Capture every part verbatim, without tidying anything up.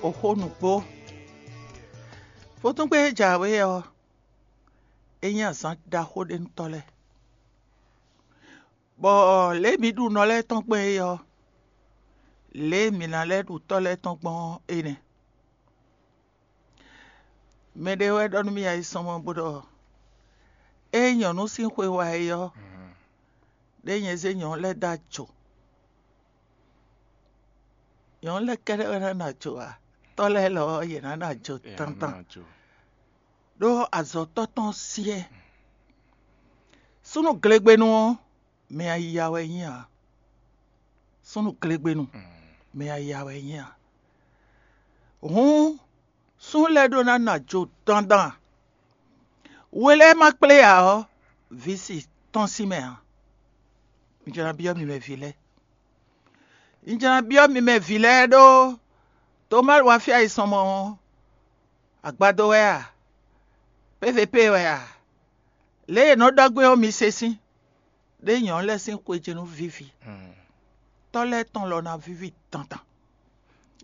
Oxó nǔgbó. Vodúngbe e jǎwe ɔ́, é nyí azǎn ɖaxó ɖé nú tɔ́ lɛ́ɛ. Bɔ lě e mǐ ɖu nɔ lɛ́ɛ tɔn gbɔn é ɔ́, lě e mǐ ná lɛ́ ɖu tɔ́ lɛ́ɛ tɔn gbɔn ɔ́ é nɛ́. Mɛɖé wɛ ɖɔ nú mì ayisɔnmɔ bó ɖɔ: "Ée nyɔ̌nu sín xwe wá é ɔ́, ɖé nyɛ zé nyɔ̌nu lɛ́ɛ dó ajo. Nyɔ̌nu lɛ́ɛ kɛ́ɖɛ́ wɛ ná nɔ ajo ǎ; tɔ́ lɛ́ɛ lɔ ɔ́, yě ná nɔ ajo tantan, ɖó azɔ̌tɔ́ tɔn syɛ́." Súnnu glegbenu ɔ́, mɛ ayiya wɛ é nyí ǎ. Súnnu glegbenu, mɛ ayiya wɛ é nyí ǎ. Hǔn súnnu lɛ́ɛ ɖó ná nɔ ajo dandan. We lɛ́ɛ ma kplé ǎ ɔ́, vǐ si tɔ́n sín mɛ ǎ. Un jló ná byɔ́ mi mɛ vǐ lɛ́ɛ. Un jló ná byɔ́ mi mɛ vǐ lɛ́ɛ ɖó Tomáli wá fí ayisɔnmɔ ɔ́, agbadó wɛ a? Pévepée wɛ a? Lě e è nɔ ɖɔ gbé ɔ́, mi se sín. Ɖé nyɔ̌nu lɛ́ɛ sín xwejɛ́nú víví. Tɔ́ lɛ́ɛ tɔn lɔ ná víví dandan.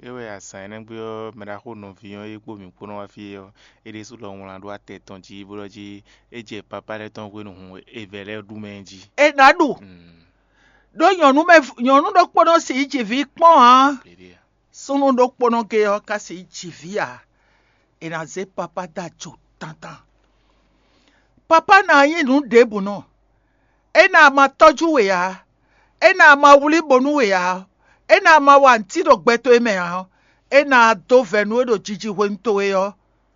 É wɛ azǎn énɛ́ gbe ɔ́, mɛɖaxó nɔví ɔ́ e kpó mǐ kpó nɔ wá fí é ɔ́, é ɖésú lɔ wlán ɖó atɛ tɔn jí bó ɖɔ jí é jɛ papá lɛ́ɛ tɔn hwenu hun evɛ̌ lɛ́ɛ ɖu mɛ jí. È nǎ ɖu. Ɖó nyɔ̌nu mɛ nyɔ̌nu ɖokpónɔ si yi ji vǐ kpɔ́n ǎ. Súnnu ɖokpónɔ gé ɔ́ ka sixú ji vǐ ǎ; è nǎ zé papá dó ajo tantan. Papá ná nyí nǔ ɖěbǔ nɔ. É ná ma tɔ́jú we ǎ; é ná ma wlí bo nú we ǎ; é ná ma wa nǔtí ɖo gbɛ towe mɛ ǎ; é ná dó vɛ̌ nú we ɖo jiji hwenu towe ɔ́,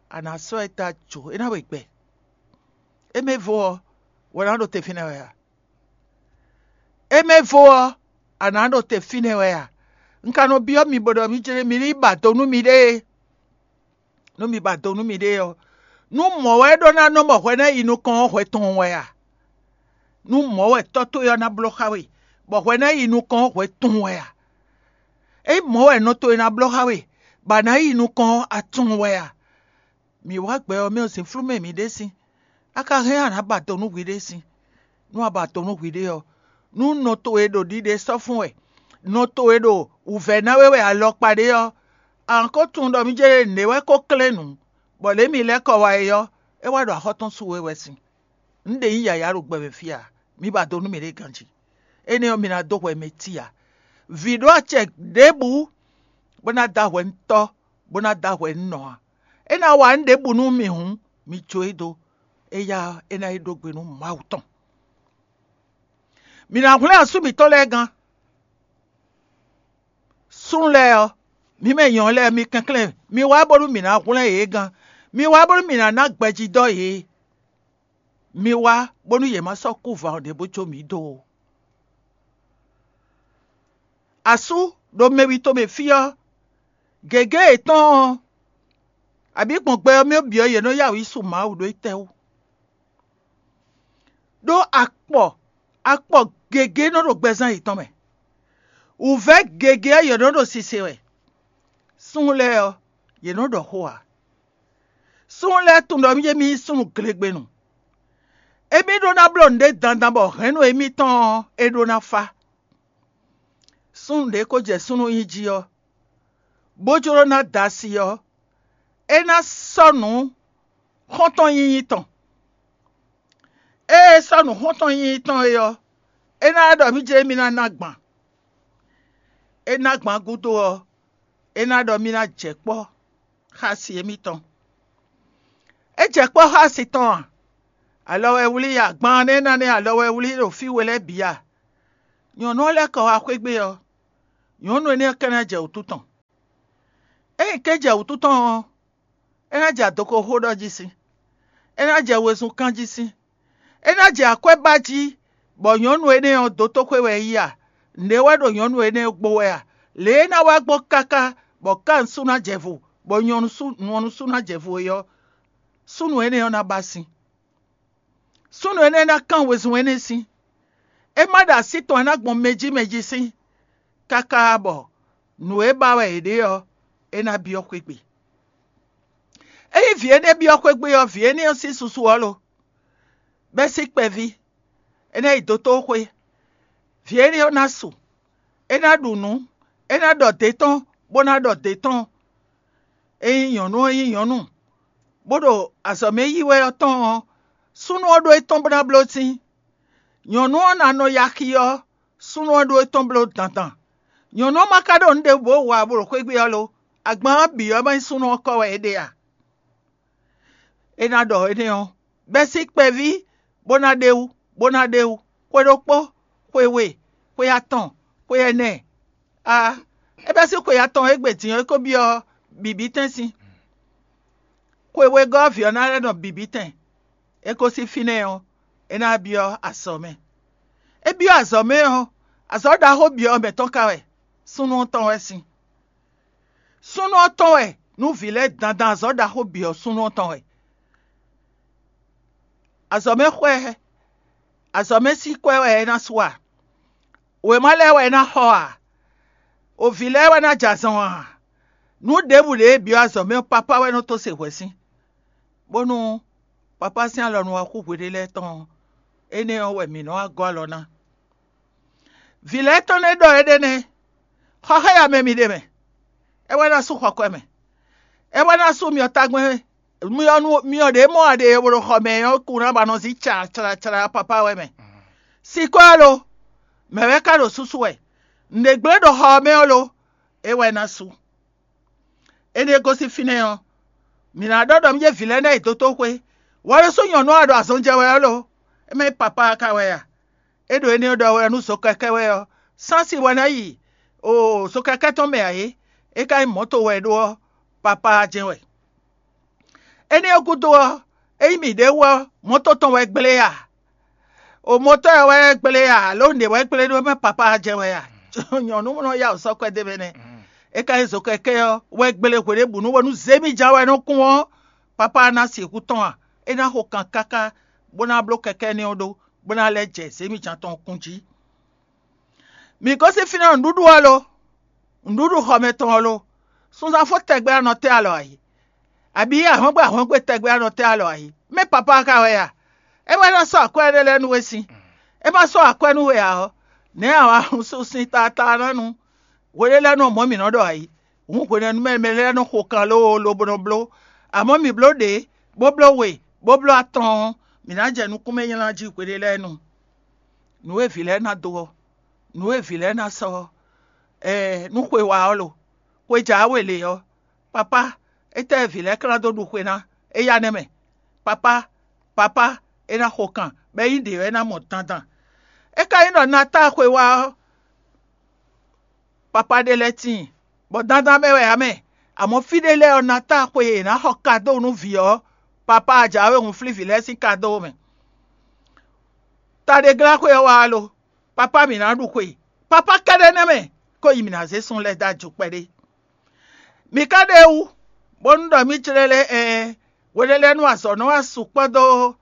a nǎ sɔ́ ɛ dó ajo; é ná we gbɛ. É mɛ vo ɔ́, wɛ ná ɖo te fínɛ́ wɛ a? É mɛ vo ɔ́, a nǎ ɖo te fínɛ́ wɛ a? Un ka nɔ byɔ́ mi bó ɖɔ mi jlé mi ní ba do nú miɖée. Nú mi ba do nú miɖée ɔ́, nú mɔ̌ wɛ ɖó ná nɔ bɔ hwɛ ná yi nukɔn ɔ́, hwɛ tɔn wɛ a? Nú mɔ̌ wɛ tɔ́ towe ɔ́ ná bló xá we, bɔ hwɛ ná yi nukɔn ɔ́, hwɛ tɔn wɛ a? Ényí mɔ̌ wɛ nɔ towe ná bló xá we, bɔ a nǎ yi nukɔn ɔ́, a tɔn wɛ a? Mǐ wá gbɛ ɔ́ mɛ ɔ́, zǐnflú mɛ mǐ ɖe sín. A ka hɛn a nǎ ba do nú hwiɖée sín? Nú a ba do nú hwiɖée ɔ́, nú nɔ towe ɖo ɖiɖe sɔ́ fún wɛ, nɔ towe ɖo wǔvɛ́ ná we wɛ alɔkpa ɖé ɔ́, a nǎ ko tunwun ɖɔ mì jɛ nɛ̌ wɛ ko klɛ́n nǔ, bɔ lě mi lɛ́ kɔ wá é ɔ́, é wá ɖo axɔ́ tɔn su we wɛ sín. Nǔ ɖě nyí yǎyá ɖo gbɛ mɛ fí a? Mi ba do nú mǐɖée ganjí. Énɛ́ ɔ́, mi ná dó hwɛ mɛ cí ǎ. Vǐ ɖó acɛ ɖěbǔ bó ná dó ahwɛ nú tɔ́, bó ná dó ahwɛ nú nɔ ǎ. É ná wa nǔ ɖěbǔ nú mì hǔn, mi jó e dó. Éyá ɔ́, é ná yi ɖó gbe nú Mawu tɔn. Mǐ ná hwlɛ́n asú mǐtɔn lɛ́ɛ gán. Súnnu lɛ́ɛ ɔ́, mǐ mɛ nyɔ̌nu lɛ́ɛ, mi kɛnklɛ́n, mi wá bónú mǐ ná hwlɛ́n yě gán. Mi wá bónú mǐ ná ná gbɛjidɔ́ yě. Mi wá bónú yě má sɔ́ kú van ɔ́ ɖě bó jó mǐ dó ó. Asú ɖo mɛ wi tomɛ fí ɔ́, gěgé yětɔn ɔ́, abǐ gbɔn gbɛ ɔ́ mɛ ɔ́ bǐ ɔ́, yě nɔ yá wǔ yi su Mawu ɖó étɛ́wú? Ɖó akpɔ akpɔ gěgé nɔ ɖo gbɛzán yětɔn mɛ. Wǔvɛ́ gěgé ɔ́, yě nɔ ɖo sise wɛ. Súnnu lɛ́ɛ ɔ́, yě nɔ ɖɔ xó ǎ. Súnnu lɛ́ɛ tunwun ɖɔ mì jɛ mì nyí súnnu glegbenu. Émí ɖó ná bló nǔɖé dandan bɔ hɛ̌nnu émítɔn ɔ́, é ɖó ná fá. Súnnu ɖě ko jɛ súnnu nyi jí ɔ́, bó jló ná da asi ɔ́, é ná sɔ́ nǔ xɔ́ntɔn nyinyi tɔn. Ée é sɔ́ nǔ xɔ́ntɔn nyinyi tɔn é ɔ́, é ná ɖɔ mì jɛ mì ná ná gban. É ná gban gúdo ɔ́, é ná ɖɔ mì ná jɛ kpɔ́ xá asi émítɔn. É jɛ kpɔ́ xá asi tɔn a? Alɔ wɛ wlí a? Gban nɛ́ ná nɛ́ alɔ wɛ wlí ɖo fí we lɛ́ɛ bǐ a? Nyɔ̌nu ɔ́ lɛ́ kɔ wá xwé gbe ɔ́, nyɔ̌nu énɛ́ ɔ́ ka ná jɛ wǔtu tɔn. Ényí é jɛ wǔtu tɔn ɔ́, é ná jɛ adɔgo xó ɖɔ jí sín; é ná jɛ wezun kán jí sín; é ná jɛ akwɛ́ ba jí, bɔ nyɔ̌nu énɛ́ ɔ́, dótóxwé wɛ é yí a? Nɛ̌ wɛ ɖo nyɔ̌nu énɛ́ ɔ́ gbo wɛ a? Lě e é ná wá gbɔn káká bɔ ká nǔsú ná jɛ vo, bɔ nyɔ̌nu sú ná jɛ vo é ɔ́, súnnu énɛ́ ɔ́ ná ba sin. Súnnu énɛ́ ná kán wezun énɛ́ sín. É má ɖo así tɔn ná gbɔn mɛ jí mɛ jí sín, káká bɔ nǔ e ba wɛ è ɖe ɔ́, é ná byɔ́ xwé gbe. Ényí vǐ énɛ́ byɔ́ xwé gbe ɔ́, vǐ énɛ́ ɔ́ sín susu ɔ́ lo? Bɛ́ sín kpɛví, é ná yi dotóxwé. Vǐ énɛ́ ɔ́ ná su; é ná ɖu nǔ; é ná ɖɔ dě tɔn, bó ná ɖɔ dě tɔn. Ényí nyɔ̌nu ɔ́ nyí nyɔ̌nu, bó ɖo azɔ̌ mɛ yí wɛ ɔ́ tɔn ɔ́, súnnu ɔ́ ɖó étɔn bó ná bló sín. Nyɔ̌nu ɔ́ ná nɔ ya xi ɔ́, súnnu ɔ́ ɖó étɔn bló dandan. Nyɔ̌nu ɔ́ ma ka ɖo nǔ ɖěbǔ wa bó ɖo xwé gbe ɔ́ lo, agban ɔ́ bǐ ɔ́ ma nyí súnnu ɔ́ kɔ wɛ é ɖe a? É ná ɖɔ énɛ́ ɔ́, bɛ́ sín kpɛví bó ná ɖe wú, bó ná ɖe wú, xwe ɖokpó, xwe we, xwe atɔn, xwe ɛnɛ. A, é bɛ́ sín xwe atɔn égbé din ɔ́, é ko byɔ́ bǐbítɛ́nsin. Xwe wegɔ́ ɔ́ vǐ ɔ́ ná lɛ́ nɔ bǐbítɛn. É gosín fínɛ́ ɔ́, é ná byɔ́ azɔ̌ mɛ. É byɔ́ azɔ̌ mɛ ɔ́, azɔ̌ ɖaxó byɔ́ mɛ tɔn ka wɛ, súnnu ɔ́ tɔn wɛ sín. Súnnu ɔ́ tɔn wɛ nú vǐ lɛ́ɛ dandan azɔ̌ ɖaxó byɔ́ súnnu ɔ́ tɔn wɛ. Azɔ̌ mɛ xwɛ, azɔ̌ mɛ sín kwɛ́ wɛ é ná su a? Wěma lɛ́ɛ wɛ é ná xɔ a? Ovǐ lɛ́ɛ wɛ ná jɛ azɔn a? Nǔ ɖěbǔ ɖě e byɔ́ azɔ̌ mɛ ɔ́, papá wɛ nɔ tó se hwɛ̌ sín, bónú papá sín alɔ nu wá xú hweɖé lɛ́ɛ tɔn ɔ́, énɛ́ ɔ́ wɛ mǐ nɔ́ wá gɔ́ alɔ ná. Vǐ lɛ́ɛ tɔn nɛ́ ɖɔ éɖée nɛ́, xɔ xá ya mɛ mi ɖe mɛ, é wɛ ná sú xɔ kwɛ mɛ, é wɛ ná sú myɔ tagbɛn, myɔ nu myɔ ɖě mɔ a ɖe e ɖo xɔ mɛ ɔ́ kún ná ba nɔ zí cla cla cla papá wɛ mɛ. Sikɔ́ ɔ́ lo, mɛ̌ wɛ ka ɖo súsú wɛ? Nǔɖé gblé ɖo xɔ ɔ́ mɛ ɔ́ lo, é wɛ ná sú. Énɛ́ gosín fínɛ́ ɔ́, mǐ ná ɖɔ ɖɔ mì jɛ vǐ lɛ́ɛ ná yi dotóxwé. Wǎ ɖésú nyɔ̌nu ɔ́ ɖo azɔn jɛ wɛ ɔ́ lo, é mɛ nyí papá ka wɛ a? É ɖo énɛ́ ɖɔ wɛ nú zokɛkɛ́ wɛ ɔ́, sási wɛ ná yi o zokɛkɛ́ tɔn mɛ ǎ é, é ka nyí mɔ̌to wɛ é ɖó ɔ́, papá jɛ́n wɛ. Énɛ́ ɔ́ gúdo ɔ́, ényí mǐ ɖě wú ɔ́, mɔ̌to tɔn wɛ gblé a? O mɔ̌to ɔ́ wɛ gblé a, alo nǔɖé wɛ gblé ɖó mɛ papá jɛ́n wɛ a? Nyɔ̌nu nɔ ya wǔ sɔ́ kwɛ́ d'é mɛ nɛ́. É ka nyí zokɛkɛ́ ɔ́ wɛ gblé hweɖěbǔnu bónú zěmijǎn wɛ nɔ kún ɔ́, papá ná sixú tɔn a? É ná xo kan káká bó ná bló kɛkɛ́ énɛ́ ɔ́ ɖó, bó ná lɛ́ jɛ zěmijǎn tɔn kún jí. Mǐ gosín fínɛ́ nǔɖuɖu ɔ́ lo? Nǔɖuɖu xɔ mɛ tɔn ɔ́ lo? Sunzán fó tɛgbɛ anɔ tɛ́ alɔ ayǐ, abǐ ahɔ́ngbe ahɔ́ngbe tɛgbɛ anɔ tɛ́ alɔ ayǐ? Mɛ̌ papá ka wɛ a? É wɛ ná sɔ́ akwɛ́ énɛ́ lɛ́ɛ nú we sín. É ma sɔ́ akwɛ́ nú we ǎ ɔ́, nɛ̌ a wǎ hun sú sín tlátlánánu? Hweɖé lɛ́ɛ nɔ mɔ̌ mǐ nɔ ɖɔ ayǐ. Hǔn hwenɛ́nu mɛ mɛ lɛ́ɛ nɔ xo kan lóo lobo nɔ bló. Amɔ̌ mǐ bló ɖě, bó bló we, bó bló atɔn ɔ́, mǐ ná jɛ nukúnmɛ nylá jí hweɖé lɛ́ɛ nu. Nǔ e vǐ lɛ́ɛ ná dó ɔ́, nǔ e vǐ lɛ́ɛ ná sɔ́ ɔ́, ɛɛ, nú xwe wá ɔ́ lo? Xwe jǎ we lě ɔ́, papá, étɛ́ vǐ lɛ́ɛ ka ná dó ɖu xwe ná? É yá nɛ́ mɛ. Papá, papá, é ná xo kan, bɔ é nyí ɖě wɛ é ná mɔ dandan. É ka nyí ɖɔ Natáa xwe wá ɔ́, papá ɖé lɛ́ɛ tíin, bɔ dandan mɛ wɛ ǎ mɛ. Amɔ̌ fí ɖé lɛ́ɛ ɔ́, Natáa xwe e è nǎ xɔ kadó nú vǐ ɔ́, papá jǎwe hun flín vǐ lɛ́ɛ sín kadó mɛ. Ta ɖé glá xwe ɔ́ wá lo? Papá mǐ ná ɖu xwe. Papá kɛ́ɖɛ́ nɛ́ mɛ, kó yi mǐ ná zé sun lɛ́ɛ dó ajo kpɛɖé. Mi ka ɖe wú, bónú ɖɔ mì jlɛ́ lɛ́ ɛɛ, hweɖélɛ́nu azɔ̌ nɔ wá sukpɔ́ dó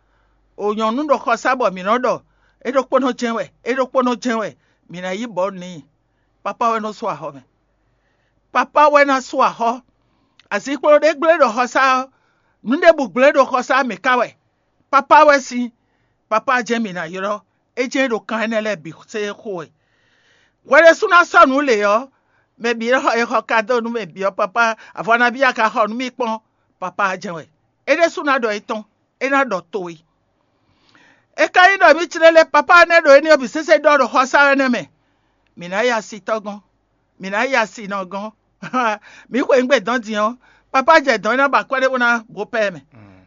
o nyɔ̌nu ɖo xɔsá bɔ mǐ nɔ ɖɔ é ɖokpónɔ jɛ́n wɛ, é ɖokpónɔ jɛ́n wɛ, mǐ ná yí bɔ̌ n'i. Papá wɛ nɔ sú axɔ́ mɛ. Papá wɛ ná sú axɔ́. Azinkpo ɖé gblé ɖo xɔsá ɔ́, nǔ ɖěbǔ gblé ɖo xɔsá mǐ ka wɛ. Papá wɛ sín, papá jɛ́n mǐ ná ylɔ́. É jɛ́n ɖo kan énɛ́ lɛ́ɛ bǐ se xo wɛ. Hwɛ ɖésú ná sɔ́ nǔ lě ɔ́, mɛ bǐ e xɔ kadó nú mɛ bǐ ɔ́, papá, avɔ nabí a ka xɔ nú mì kpɔ́n? Papá jɛ́n wɛ. É ɖésú ná ɖɔ étɔn, é ná ɖɔ towe. É ka nyí ɖɔ mǐ tlélé papá énɛ́ ɖo éní ɔ́ bǐ sésé ɖɔ ɖo xɔsá énɛ́ mɛ. Mǐ ná yi asitɔ́ gɔ́n, mǐ ná yi asinɔ gɔ́n. Mǐ xweyǐgbe dɔ̌n din ɔ́, papá jɛ dɔ̌n é ná ba akwɛ́ ɖé bó ná bopɛ́ mɛ.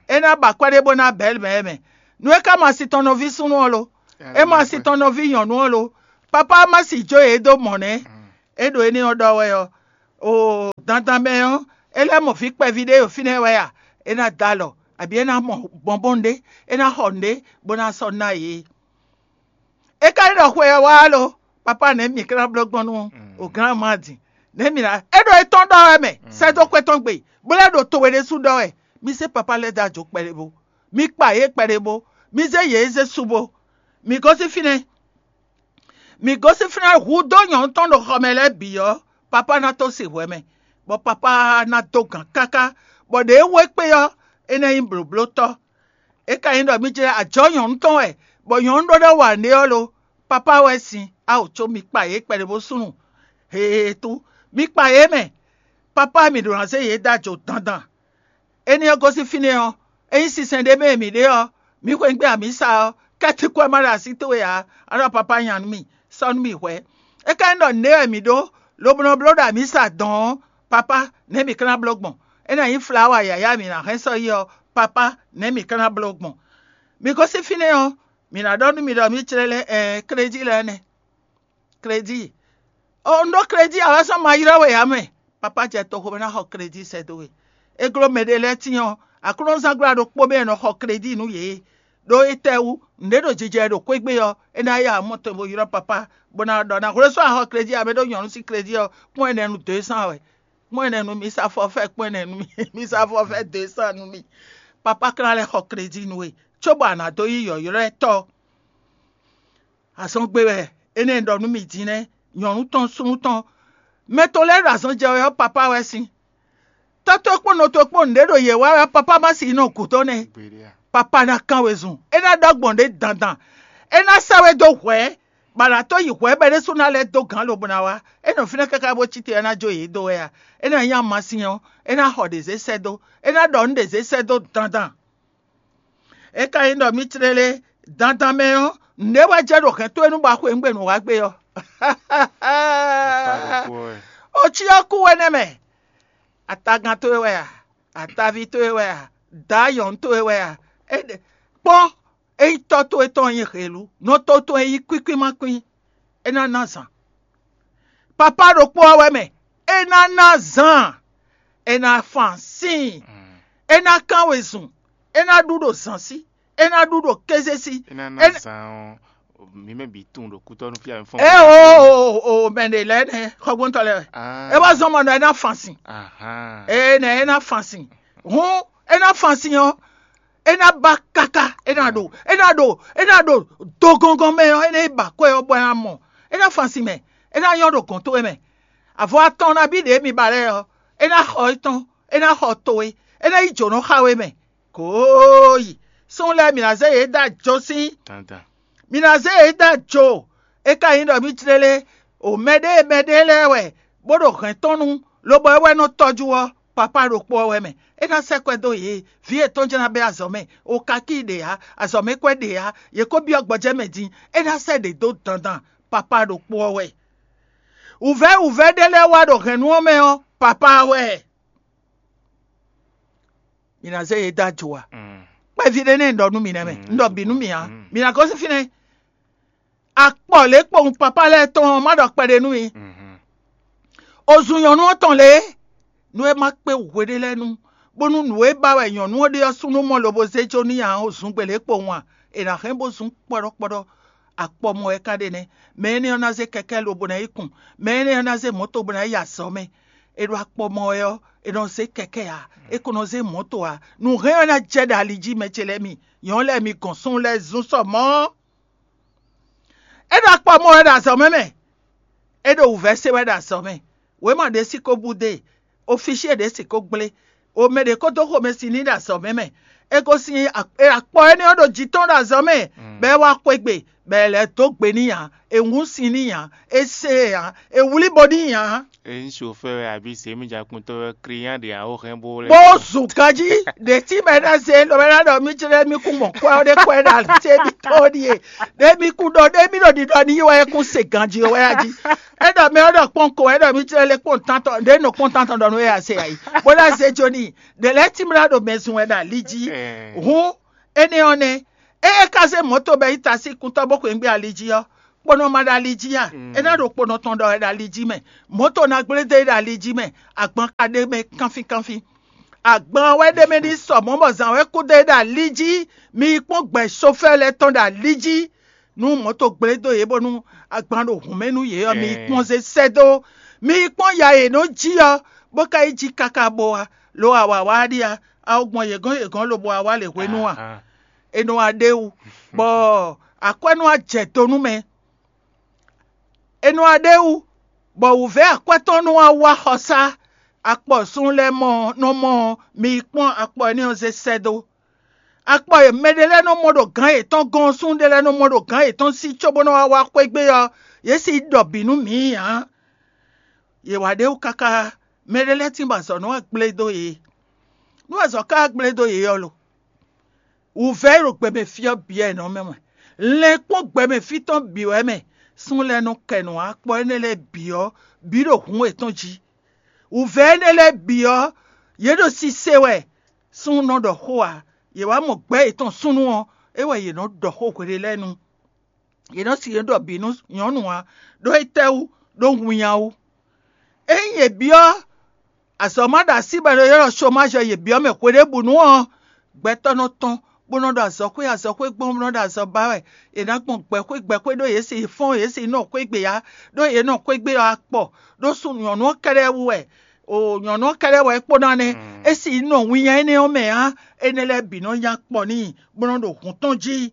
É ná ba akwɛ́ ɖé bó ná bɛ̌ mɛ mɛ. Nú é ka ma si tɔn nɔví súnnu ɔ́ lo? É ma si tɔn nɔví nyɔ̌nu ɔ́ lo? Papá ma si jó yě dó mɔ̌ nɛ́. É ɖo énɛ́ ɔ́ ɖɔ wɛ ɔ́, o dandan mɛ ɔ́, é lɛ́ mɔ vǐ kpɛví ɖé ɖo fínɛ́ wɛ a? É ná da alɔ, abǐ é ná mɔ bɔnbɔn ɖé, é ná xɔ nǔɖé bó ná sɔ́ ná yě. É ka nyí ɖɔ xwe ɔ́ wá lo, papá nɛ̌ mǐ ka ná bló gbɔn nú o gǎn ma din? Nɛ̌ mǐ ná é ɖo étɔn ɖɔ wɛ mɛ, sɛ́ dó xwé tɔn gbe, bó lɛ́ ɖo towe ɖésú ɖɔ wɛ. Mi zé papá lɛ́ɛ dó ajo kpɛɖé bó, mi kpa yě kpɛɖé bó, mi zé yě zé su bó. Mǐ gosín fínɛ́, mǐ gosín fínɛ́ hu dó nyɔ̌nu tɔn ɖo xɔ mɛ lɛ́ɛ bǐ ɔ́, papá ná tó se hwɛ mɛ, bɔ papá ná dó gǎn káká, bɔ ɖě e wú é kpé ɔ́, é ná nyí blǒblótɔ́. É ka nyí ɖɔ mì jlɛ́ ajɔ̌ nyɔ̌nu tɔn wɛ, bɔ nyɔ̌nu ɖó ɖɔ wa nǔɖé ɔ́ lo? Papá wɛ sin, ao có mi kpa yě kpɛɖé bó súnnu hehehetu. Mi kpa yě mɛ, Papá, mǐ ɖó ná zé yě dó ajo dandan. Énɛ́ ɔ́ gosín fínɛ́ ɔ́, ényí sinsɛn ɖé mɛ e mǐ ɖe ɔ́, mǐ xweyǐgbe amǐsa ɔ́, kɛ́tíkwɛ́ ma ɖo así towe ǎ, a ɖɔ papá nya nú mì, sɔ́ nú mì hwɛ̌. É ka nyí ɖɔ nǔɖé wɛ mǐ ɖó, lobo nɔ bló ɖo amǐsa dɔ̌n ɔ́, papá, nɛ̌ mǐ ka ná bló gbɔn? É ná nyí flawa yǎyá mǐ ná hɛn sɔ́ yi ɔ́, papá, nɛ̌ mǐ ka ná bló gbɔn? Mǐ gosín fínɛ́ ɔ́, mǐ ná ɖɔ nú mi ɖɔ mǐ clɛ́ lɛ́ɛ, ɛɛ, kléjí lɛ́ɛ nɛ́. Kléjí. Un ɖó kléjí ǎ wɛ sɔ́ ma ylɔ́ we ǎ mɛ. Papá jɛ toxo mɛ ná xɔ kléjí sɛ́ dó we. É gló mɛɖé lɛ́ɛ tíin ɔ́, aklúnɔzángbla ɖokpó mɛ è nɔ xɔ kléjí nú yě. Ɖó étɛ́wú? Nǔɖé ɖo jijɛ ɖo xwé gbe ɔ́, é ná yá amɔ́ tɔn bó ylɔ́ papá, bó ná ɖɔ ná hwlɛ́ sɔ́ axɔ kléjí ǎ mɛ ɖó nyɔ̌nu sín kléjí ɔ́, kpɔ́n ɛnɛ nú dǒ e sán wɛ. Kpɔ́n ɛnɛ nú mi sá fɔfɛ́, kpɔ́n ɛnɛ nú mi, mi sá fɔfɛ́ dǒ e sán nú mi. Papá ka ná lɛ́ xɔ kléjí nú we, cóbɔ a nǎ dó nyí yɔ̌ylɔ́tɔ́. Azɔn gbe wɛ énɛ́ ɖɔ nú mì din nɛ́, nyɔ̌nu tɔn súnnu tɔn. Mɛ tɔn lɛ́ɛ ɖo azɔn jɛ wɛ ɔ́, papá wɛ sín. Tɔ́ towe kpó nɔ towe kpó nǔɖé ɖo yě wa wɛ, papá má si nɔ gǔdo nɛ́. Papá ná kán wezun, é ná ɖɔ gbɔn ɖě dandan. É ná sɛ́ we dó hwɛ̌, bɔ a nǎ tó yi hwɛ̌ bɔ é ɖésú ná lɛ́ dó gǎn lobo ná wá. É nɔ fínɛ́ káká bó cí te ɔ́, é ná jó yě dó wɛ a? É ná nyí amasin ɔ́, é ná xɔ ɖě zé sɛ́ dó. É ná ɖɔ nǔ ɖě zé sɛ́ dó dandan. É ka nyí ɖɔ mì tlélé dandan mɛ ɔ́, nǔɖé wɛ jɛ ɖo hɛn towe nú bɔ a xweyǐgbe nǔ wa gbe ɔ́. O cyɔ kú we nɛ́ mɛ. Atagan towe wɛ a? Ataví towe wɛ a? Dǎ nyɔ̌nu towe wɛ a? Kpɔ́n, ényí tɔ́ towe tɔn nyí helu, nɔ to tɔn e nyí kwíkwí ma kwín, é ná ná zan. Papá ɖokpó ɔ́ wɛ mɛ, é ná ná zan, é ná fan síin, é ná kán wezun, é ná ɖu ɖo zǎn sí, é ná ɖu ɖo kéze sí. É ná ná zan ɔ́, mǐ mɛ bǐ tunwun ɖo kútɔ́ nú fí a mi fɔ́n. É o o o mɛ ɖě lɛ́ɛ nɛ́ xɔgbóntɔ́ lɛ́ɛ wɛ. É wá zɔ́n mɔ nɔ é ná fan sin. Ee nɛ é ná fan sin. Hǔn é ná fan sin ɔ́, é ná ba káká, é ná ɖo é ná ɖo é ná ɖo dogɔngɔn mɛ ɔ́, é ná yi ba kwɛ ɔ́ bɔ é ná mɔ. É ná fan sin mɛ, é ná nyɔ́ ɖo gɔ̌n towe mɛ. Avɔ atɔn nabí ɖě mi ba lɛ́ɛ ɔ́, é ná xɔ étɔn, é ná xɔ towe, é ná yi jǒnɔ xa we mɛ. Kooyi! Súnnu lɛ́ɛ, mǐ ná zé yě dó ajo sín. Mǐ ná zé yě dó ajo. É ka nyí ɖɔ mǐ jlé lé, o mɛɖée mɛɖée lɛ́ɛ wɛ, bó ɖo hɛ̌n tɔn nu, lobɔ é wɛ nɔ tɔ́jú ɔ́, papá ɖokpó ɔ́ wɛ mɛ. É ná sɛ́ kwɛ́ dó yě, vǐ yětɔn jɛ́n ná bɛ́ azɔ̌ mɛ. O ka kí ɖě ǎ, azɔ̌ mɛ kwɛ́ ɖě ǎ, yě ko byɔ́ gbɔjɛ́ mɛ din. É ná sɛ́ ɖě dó dandan, papá ɖokpó ɔ́ wɛ. Wǔvɛ́ wǔvɛ́ ɖé lɛ́ɛ wá ɖo hɛ̌nnu ɔ́ mɛ ɔ́, papá ɔ́ wɛ. Mǐ ná zé yě dó ajo a? Kpɛví ɖé nɛ́ un ɖɔ nú mi nɛ́ mɛ, un ɖɔ bǐ nú mi ǎ. Mǐ ná gosín fínɛ́. Akpɔ lě kpowun papá lɛ́ɛ tɔn ɔ́, má ɖɔ kpɛɖé nú mi. O zun nyɔ̌nu ɔ́ tɔn lě, nú é má kpé hweɖé lɛ́ɛ nu, bónú nǔ e ba wɛ nyɔ̌nu ɔ́ ɖe ɔ́ súnnu mɔ lobo zé jó n'i ǎ, o zun gbe lě kpowun a? È nǎ hɛn bó zún kpɔ́ɖɔ́kpɔ́ɖɔ́. Akpɔ mɔ wɛ ka ɖe nɛ́. Mɛ énɛ́ ɔ́ ná zé kɛkɛ́ lobo ná yi kun. Mɛ énɛ́ ɔ́ ná zé mɔ̌to bó ná yi azɔ̌ mɛ. È ɖo akpɔ mɔ wɛ ɔ́, è nɔ zé kɛkɛ́ ǎ, é ko nɔ zé mɔ̌to ǎ. Nǔhɛn ɔ́ ná jɛ ɖo ali jí, mɛ ce lɛ́ɛ mi, nyɔ̌nu lɛ́ɛ mi gɔn súnnu lɛ́ɛ zún sɔ mɔ̌. É ɖo akpɔ mɔ wɛ ɖo azɔ̌ mɛ mɛ. É ɖo wǔvɛ́ se wɛ ɖo azɔ̌ mɛ. Wěma ɖé sí ko bú dó e. Ofísyé ɖě sixú gblé. O mɛ ɖě ko dó xomɛ sin n'i ɖo azɔ̌ mɛ mɛ. É gosín akpɔ énɛ́ ɔ́ ɖo jǐ tɔn ɖo azɔ̌ mɛ, bɔ é wá xwé gbe, bɔ è lɛ̌ dó gbe n'i ǎ. È wún sin n'i ǎ. È se ɛ ǎ. È wlí bo n'i ǎ. Ényí sofɛ́ wɛ abǐ zěmijǎkpɔ́ntɔ́ wɛ, klínyá ɖě ǎ ó hɛn bó lɛ́. Bó zun ganjí, ɖě tí mɛ ná zé lɔ mɛ ná ɖɔ mí jlɛ́ mí kún mɔ kwɛ́ ɔ́ ɖé kwɛ́ ɖo alití émítɔn ɔ́ ɖíe. Ɖě mí kún ɖɔ ɖě mí ɖo ɖiɖɔ n'i wɛ é kún se ganjí wɛ a jí. É ɖɔ mɛ ɔ́ ɖɔ kpɔ́n ko, é ɖɔ mí jlɛ́ lé kpɔ́n tántɔn, ɖě nɔ kpɔ́n tántɔn ɖɔ nú é a se ayi, bó ná zé jó n'i. Ɖě lɛ́ɛ tímlá ɖo mɛ zun wɛ ɖo ali jí. Hǔn énɛ́ ɔ́ nɛ́, ée é ka zé mɔ̌to bɔ é yi ta sín kuntɔ́ bó xweyǐgbe ali jí ɔ́, kponɔ ma ɖo ali jí a? É ná ɖo kponɔ tɔn ɖɔ wɛ ɖo ali jí mɛ. Mɔ̌to ná gblé dó é ɖo ali jí mɛ. Agban ka ɖ'é mɛ kánfínkánfín. Agban wɛ ɖ'é mɛ ɖi sɔ mɔ̌ bɔ zǎn wɛ kú dó é ɖo ali jí. Mi yi kpɔ́n gbɛ̌ sofɛ́ lɛ́ɛ tɔn ɖo ali jí, nú mɔ̌to gblé dó yě bónú agban ɖo hǔn mɛ nú yě ɔ́, mi yi kpɔ́n zé sɛ́ dó. Mi yi kpɔ́n ya e nɔ jí ɔ́, bó ka yi jí káká bo wá, lo awǎ wá ɖíe a? A ko gbɔn yě gɔ́n yě gɔ́n lobo wá wá lě hwenu a? È nɔ wá ɖ'é wú, bɔ akwɛ́ nɔ wá jɛ do nú mɛ. È nɔ wá ɖ'é wú, bɔ wǔvɛ́ akwɛ́ tɔn nɔ wá wá xɔsá. Akpɔ súnnu lɛ́ɛ mɔ nɔ mɔ ɔ́, mi yi kpɔ́n akpɔ énɛ́ ɔ́ zé sɛ́ dó. Akpɔ e mɛ ɖé lɛ́ɛ nɔ mɔ ɖo gǎn yětɔn gɔ́n ɔ́, súnnu ɖé lɛ́ɛ nɔ mɔ ɖo gǎn yětɔn sí cóbó nɔ wá wá xwé gbe ɔ́, yě sixú ɖɔ bǐ nú mǐ ǎ. Yě wá ɖ'é wú káká, Mɛ ɖé lɛ́ɛ tín bɔ azɔ̌ nɔ wá gblé dó yě. Nú azɔ̌ ka wá gblé dó yě ɔ́ lo, wǔvɛ́ e ɖo gbɛmɛ fí ɔ́ bǐ wɛ è nɔ mɛ wɛ. Lɛn kpɔ́n gbɛmɛ fí tɔn bǐ wɛ mɛ. Súnnu lɛ́ɛ nɔ kɛ nǔ akpɔ́ énɛ́ lɛ́ɛ bǐ ɔ́ bǐ ɖo hǔn yětɔn jí. Wǔvɛ́ énɛ́ lɛ́ɛ bǐ ɔ́, yě ɖo sise wɛ. Súnnu nɔ ɖɔ xó ǎ. Yě wá mɔ gbɛ̌ yětɔn súnnu ɔ́, é wɛ yě nɔ ɖɔ xó hweɖé lɛ́ɛ nu. Yě nɔ si yě ɖɔ bǐ nú nyɔ̌nu ǎ, ɖó étɛ́wú? Ɖó winnyá wú. Ényí yě byɔ́ azɔ̌ ma ɖo así bɔ è nɔ ylɔ́ chomage ɔ́, yě byɔ́ mɛ hweɖěbǔnu ɔ́, gbɛtɔ́ nɔ tɔn, bó nɔ ɖo azɔ̌xwé azɔ̌xwé gbɔn, bó nɔ ɖo azɔ̌ ba wɛ. È nǎ gbɔn gbɛ̌xwé gbɛ̌xwé ɖó yě si fɔ́n yě si nɔ xwé gbe ǎ, ɖó yě nɔ xwé gbe ɔ́ akpɔ, ɖó sú nyɔ̌nu ɔ́ kɛ́ɖɛ́ wú wɛ. O nyɔ̌nu ɔ́ kɛ́ɖɛ́ wɛ é kpó ná nɛ́. É si nɔ winnyá énɛ́ ɔ́ mɛ ǎ. Énɛ́ lɛ́ɛ bǐ nɔ nya kpɔ n'i, bó nɔ ɖo hǔn tɔn jí.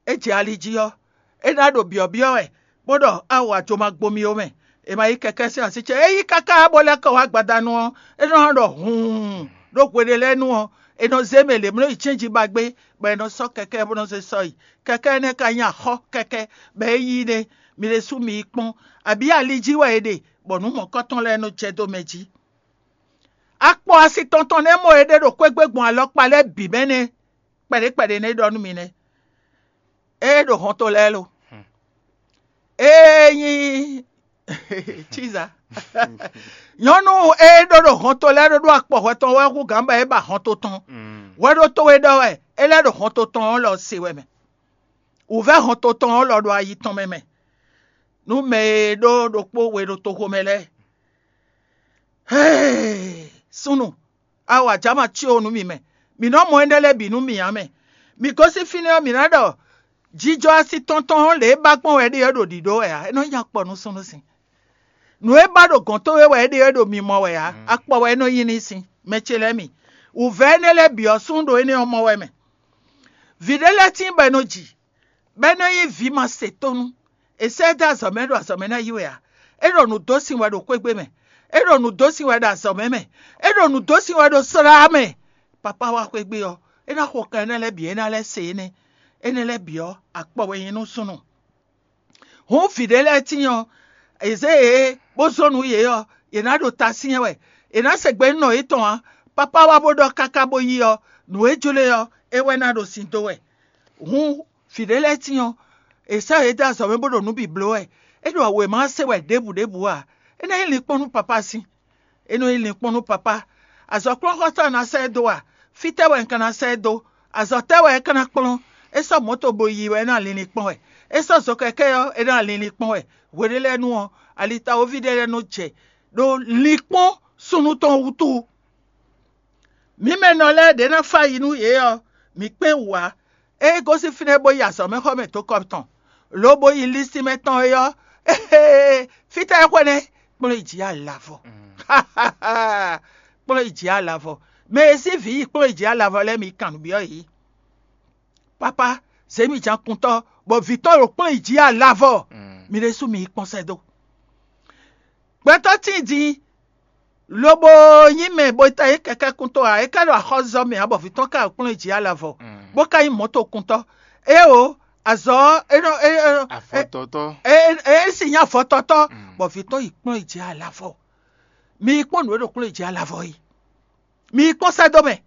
É jɛ ali jí ɔ́, é ná ɖo byɔ̌byɔ́ wɛ, bó ɖɔ: Awa jo ma gbo mi ó mɛ. È ma yí kɛkɛ́ sín así ce. É yí káká bó lɛ́ kɔ wá gbadanu ɔ́, é nɔ ɖɔ hǔun ɖó hweɖé lɛ́ɛ nu ɔ́, è nɔ zé mɛ lě mló yi cɛ́nji ba gbé, bɔ è nɔ sɔ́ kɛkɛ́ bó nɔ zé sɔ́ yi. Kɛkɛ́ énɛ́ ka nyí axɔ́ kɛkɛ́, bɔ é yí nɛ́. Mi ɖésú mi yi kpɔ́n, abǐ ali jí wɛ è ɖe, bɔ nǔ mɔ̌kɔ́tɔn lɛ́ɛ nɔ jɛ dó mɛ jí. Akpɔ asi tɔn tɔn nɛ́ mɔ è ɖe ɖo xwé gbe gbɔn alɔkpa lɛ́ɛ bǐ mɛ nɛ́. Kpɛɖé kpɛɖé nɛ́ ɖɔ nú mi nɛ́. Ée ɖo hɔnto lɛ́ɛ lo. Ée nyí Chiza. Nyɔ̌nu e ɖó ɖo hɔnto lɛ́ɛ ɖó ɖó akpɔ hwɛ tɔn wɛ hú gǎn bɔ é ba hɔnto tɔn. Hwɛ ɖó towe ɖɔ wɛ é lɛ́ ɖo hɔnto tɔn ɔ́ lɔ se wɛ mɛ. Wǔvɛ́ hɔnto tɔn ɔ́ lɔ ɖo ayi tɔn mɛ mɛ. Nú mɛ e ɖó ɖokpó we ɖo toxo mɛ lɛ́ɛ. Hee! Súnnu, awa jǎ ma cí o nú mi mɛ. Mǐ nɔ́ mɔ énɛ́ lɛ́ɛ bǐ nú mì ǎ mɛ. Mǐ gosín fínɛ́ ɔ́, mǐ ná ɖɔ jijɔ asi tɔn tɔn ɔ́ lě e ba gbɔn wɛ é ɖe ɔ́ ɖo ɖǐɖó wɛ ǎ. É nɔ́ nyí akpɔ nú súnnu sin. Nǔ e ba ɖo gɔ̌n towe wɛ é ɖe ɔ́ ɖo mi mɔ wɛ ǎ. Akpɔ wɛ é nɔ nyí n'i sin. Mɛ ce lɛ́ɛ mi. Wǔvɛ́ énɛ́ lɛ́ɛ bǐ ɔ́, súnnu ɖo énɛ́ ɔ́ mɔ wɛ mɛ. Vǐ ɖé lɛ́ɛ tíin bɔ è nɔ ji, bɔ é nɔ nyí vǐ ma se tónú. È sɛ́ ɛ dó azɔ̌ mɛ ɖo azɔ̌ mɛ ná yi wɛ ǎ. É ɖo nǔ dó sin wɛ ɖo xwé gbe mɛ. É ɖo nǔ dó sin wɛ ɖo azɔ̌ mɛ mɛ. É ɖo nǔ dó sin wɛ ɖo slá mɛ. Papá wá xwé gbe ɔ́, é ná xo kan énɛ́ lɛ́ɛ bǐ, é ná lɛ́ se énɛ́. Énɛ́ lɛ́ɛ bǐ ɔ́, akpɔ wɛ nyí nú súnnu. Hǔn vǐ ɖé lɛ́ɛ tíin ɔ́, è zě yě bó zɔ́n nǔ yě ɔ́, yě ná ɖo ta syɛ́n wɛ. È nǎ se gbe nú nɔ yětɔn ǎ. Papá wá bó ɖɔ káká bó yí ɔ́, nǔ e jló e ɔ́, é wɛ ná ɖo sin dó wɛ. Hǔn vǐ ɖé lɛ́ɛ tíin ɔ́, è sɔ́ yě dó azɔ̌ mɛ bó ɖo nǔ bǐ bló wɛ. É ɖo wěma se wɛ ɖěbǔ ɖěbǔ ǎ. É ná nyí linkpɔ́n nú papá sín. É nɔ nyí linkpɔ́n nú papá. Azɔ̌kplɔ́nxɔ́tɔ́ ná sɛ́ ɛ dó a? Fítɛ́ wɛ un ka ná sɛ́ ɛ dó? Azɔ̌ tɛ́ wɛ é ka ná kplɔ́n? É sɔ́ mɔ̌to bo yi wɛ é ná linlin kpɔ́n wɛ. É sɔ́ zokɛkɛ́ ɔ́, é ná linlin kpɔ́n wɛ. Hweɖé lɛ́ɛ nu ɔ́, alitawoví ɖé lɛ́ɛ nɔ jɛ ɖó linkpɔ́n súnnu tɔn wútu. Mǐ mɛ nɔ lɛ́ɛ ɖě ná fá yi nú yě ɔ́, mǐ kpé wǔ ǎ. É gosín fínɛ́ bó yi azɔ̌mɛxɔmɛ dó kɔ tɔn, lobo yi lísímɛ tɔn é ɔ́, fítɛ́ é xwé nɛ́? Kplɔ́n yi jǐ alavɔ. Kplɔ́n yi jǐ alavɔ. Mɛ e sín vǐ yi kplɔ́n yi jǐ alavɔ lɛ́ɛ, mi kan nǔ byɔ́ yě. Papá, zě mi jǎnkuntɔ́, bɔ vǐ tɔn ɖo kplɔ́n yi jǐ alavɔ. Mi ɖésú mi yi kpɔ́n sɛ́ dó. Gbɛtɔ́ tíin din, lobo nyí mɛ bo ta nyí kɛkɛ́kuntɔ́ ǎ, é ka ɖo axɔ́zɔ́ mɛ ǎ, bɔ vǐ tɔn ka ɖo kplɔ́n yi jǐ alavɔ, bó ka nyí mɔ̌tokuntɔ́. Éeǒ, azɔ̌ ɔ́, é nɔ é é- Afɔtɔtɔ. É é- é sì nyí afɔtɔtɔ́, bɔ vǐ tɔn yi kplɔ́n yi jǐ alavɔ. Mi yi kpɔ́n nǔ e ɖo kplɔ́n yi jǐ alavɔ é. Mi yi kpɔ́n sɛ́ dó mɛ.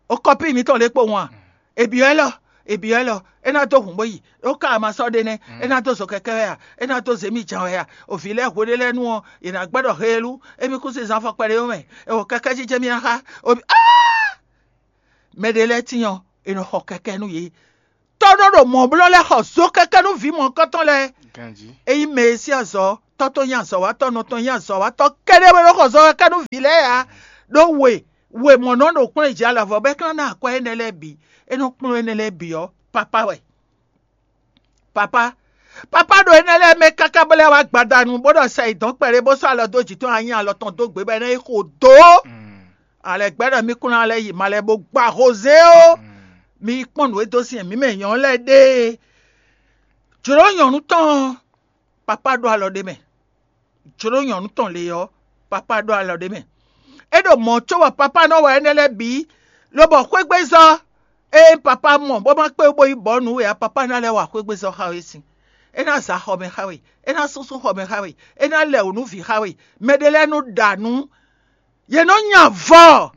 O kɔpíi mitɔn lě kpowun a? È byɔ́ ɛ lɔ, è byɔ́ ɛ lɔ, é ná dó hǔn bó yi. Ó ka ma sɔ́ ɖe nɛ́, é ná dó zo kɛkɛ́ wɛ a? É ná dó zě mi jan wɛ a? O vǐ lɛ́ɛ hweɖé lɛ́ɛ nu ɔ́, yě ná gbɛ́ ɖɔ heelú, émí kún sin zan fɔ kpɛɖé ó mɛ. È wǒ kɛkɛ́ jijɛ mì ná xá. O bi áá! Mɛ ɖé lɛ́ɛ tíin ɔ́, è nɔ xɔ kɛkɛ́ nú yě. Tɔ́ nɔ ɖo mɔ̌ blɔ́ lɛ́ɛ xɔ zo kɛkɛ́ nú vǐ mɔ̌kɔtɔn lɛ́ɛ. Ganjí. Ényí mɛ e sín azɔ̌, tɔ́ tɔn nyí azɔ̌watɔ́, nɔ tɔn nyí azɔ̌watɔ́ kɛ́ɖɛ́ wɛ nɔ xɔ zɔ kɛkɛ́ nú vǐ lɛ́ɛ ǎ. Ɖó we, we mɔ̌ nɔ ɖo kplɔ́n yi jǐ alavɔ bɔ é ka ná ná akwɛ́ énɛ́ lɛ́ɛ bǐ. É nɔ kplɔ́n énɛ́ lɛ́ɛ bǐ ɔ́, papá wɛ. Papá, papá ɖo énɛ́ lɛ́ɛ mɛ káká bó lɛ́ wá gbadanu, bó ɖɔ sɛ yi dɔ̌n kpɛɖé, bó sɔ́ alɔ dó jǐ tɔn, anyi alɔ tɔn dó gbě bɔ é ná yi xo dó. Alɛ gbɛ́ ɖɔ mí kún ná lɛ́ yi ma lɛ́ bó gba hozé ó. Mi yi kpɔ́n nǔ e dó sin mǐ mɛ nyɔ̌ lɛ́ɛ ɖe. Jlǒ nyɔ̌nu tɔn ɔ́, papá ɖó alɔ ɖé mɛ. Jlǒ nyɔ̌nu tɔn lě ɔ́, papá ɖó alɔ ɖé mɛ. É ɖo mɔ̌ có bɔ papá nɔ wa énɛ́ lɛ́ɛ bǐ, lobɔ xwégbézɔ́ e papá mɔ bó ma kpé bó yi bɔ̌ nǔ we ǎ, papá ná lɛ́ wa xwégbézɔ́ xá we sin. É ná za xɔ mɛ xá we, é ná súnsún xɔ mɛ xá we, é ná lɛ wǔ nú vǐ xá we. Mɛ ɖé lɛ́ɛ nɔ ɖa nǔ, yě nɔ nya avɔ.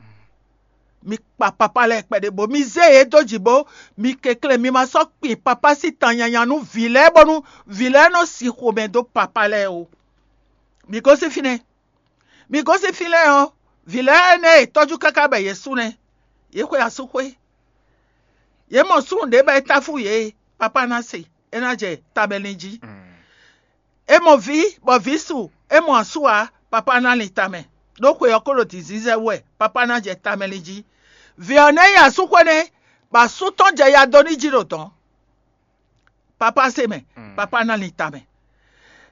Mi kpa papá lɛ́ɛ kpɛɖé bó mi zé yě dó jǐ bó mi kɛnklɛ́n mi ma sɔ́ kpin papá sín tan nyanya nú vǐ lɛ́ɛ bónú vǐ lɛ́ɛ nɔ sin xomɛ dó papá lɛ́ɛ ó. Mi gosín fínɛ́. Mi gosín fínɛ́ ɔ́, vǐ lɛ́ɛ énɛ́ e tɔ́jú káká bɔ yě sú nɛ́. Yě xwe asú xwé. Yě mɔ súnnu ɖě bɔ é táfú yě, papá ná se, é ná jɛ tamɛlin jí. É mɔ vǐ, bɔ vǐ su, é mɔ asú ǎ, papá ná lin tamɛ. Ɖó xwe ɔ́ ko ɖo dǐndín zɛ wú wɛ, papá ná jɛ tamɛlin jí. Vǐ ɔ́ nɛ́ yi asú xwé nɛ́, bɔ asú tɔn jɛ ya dó n'i jí ɖo dɔ̌n. Papá se mɛ, papá ná lin tamɛ.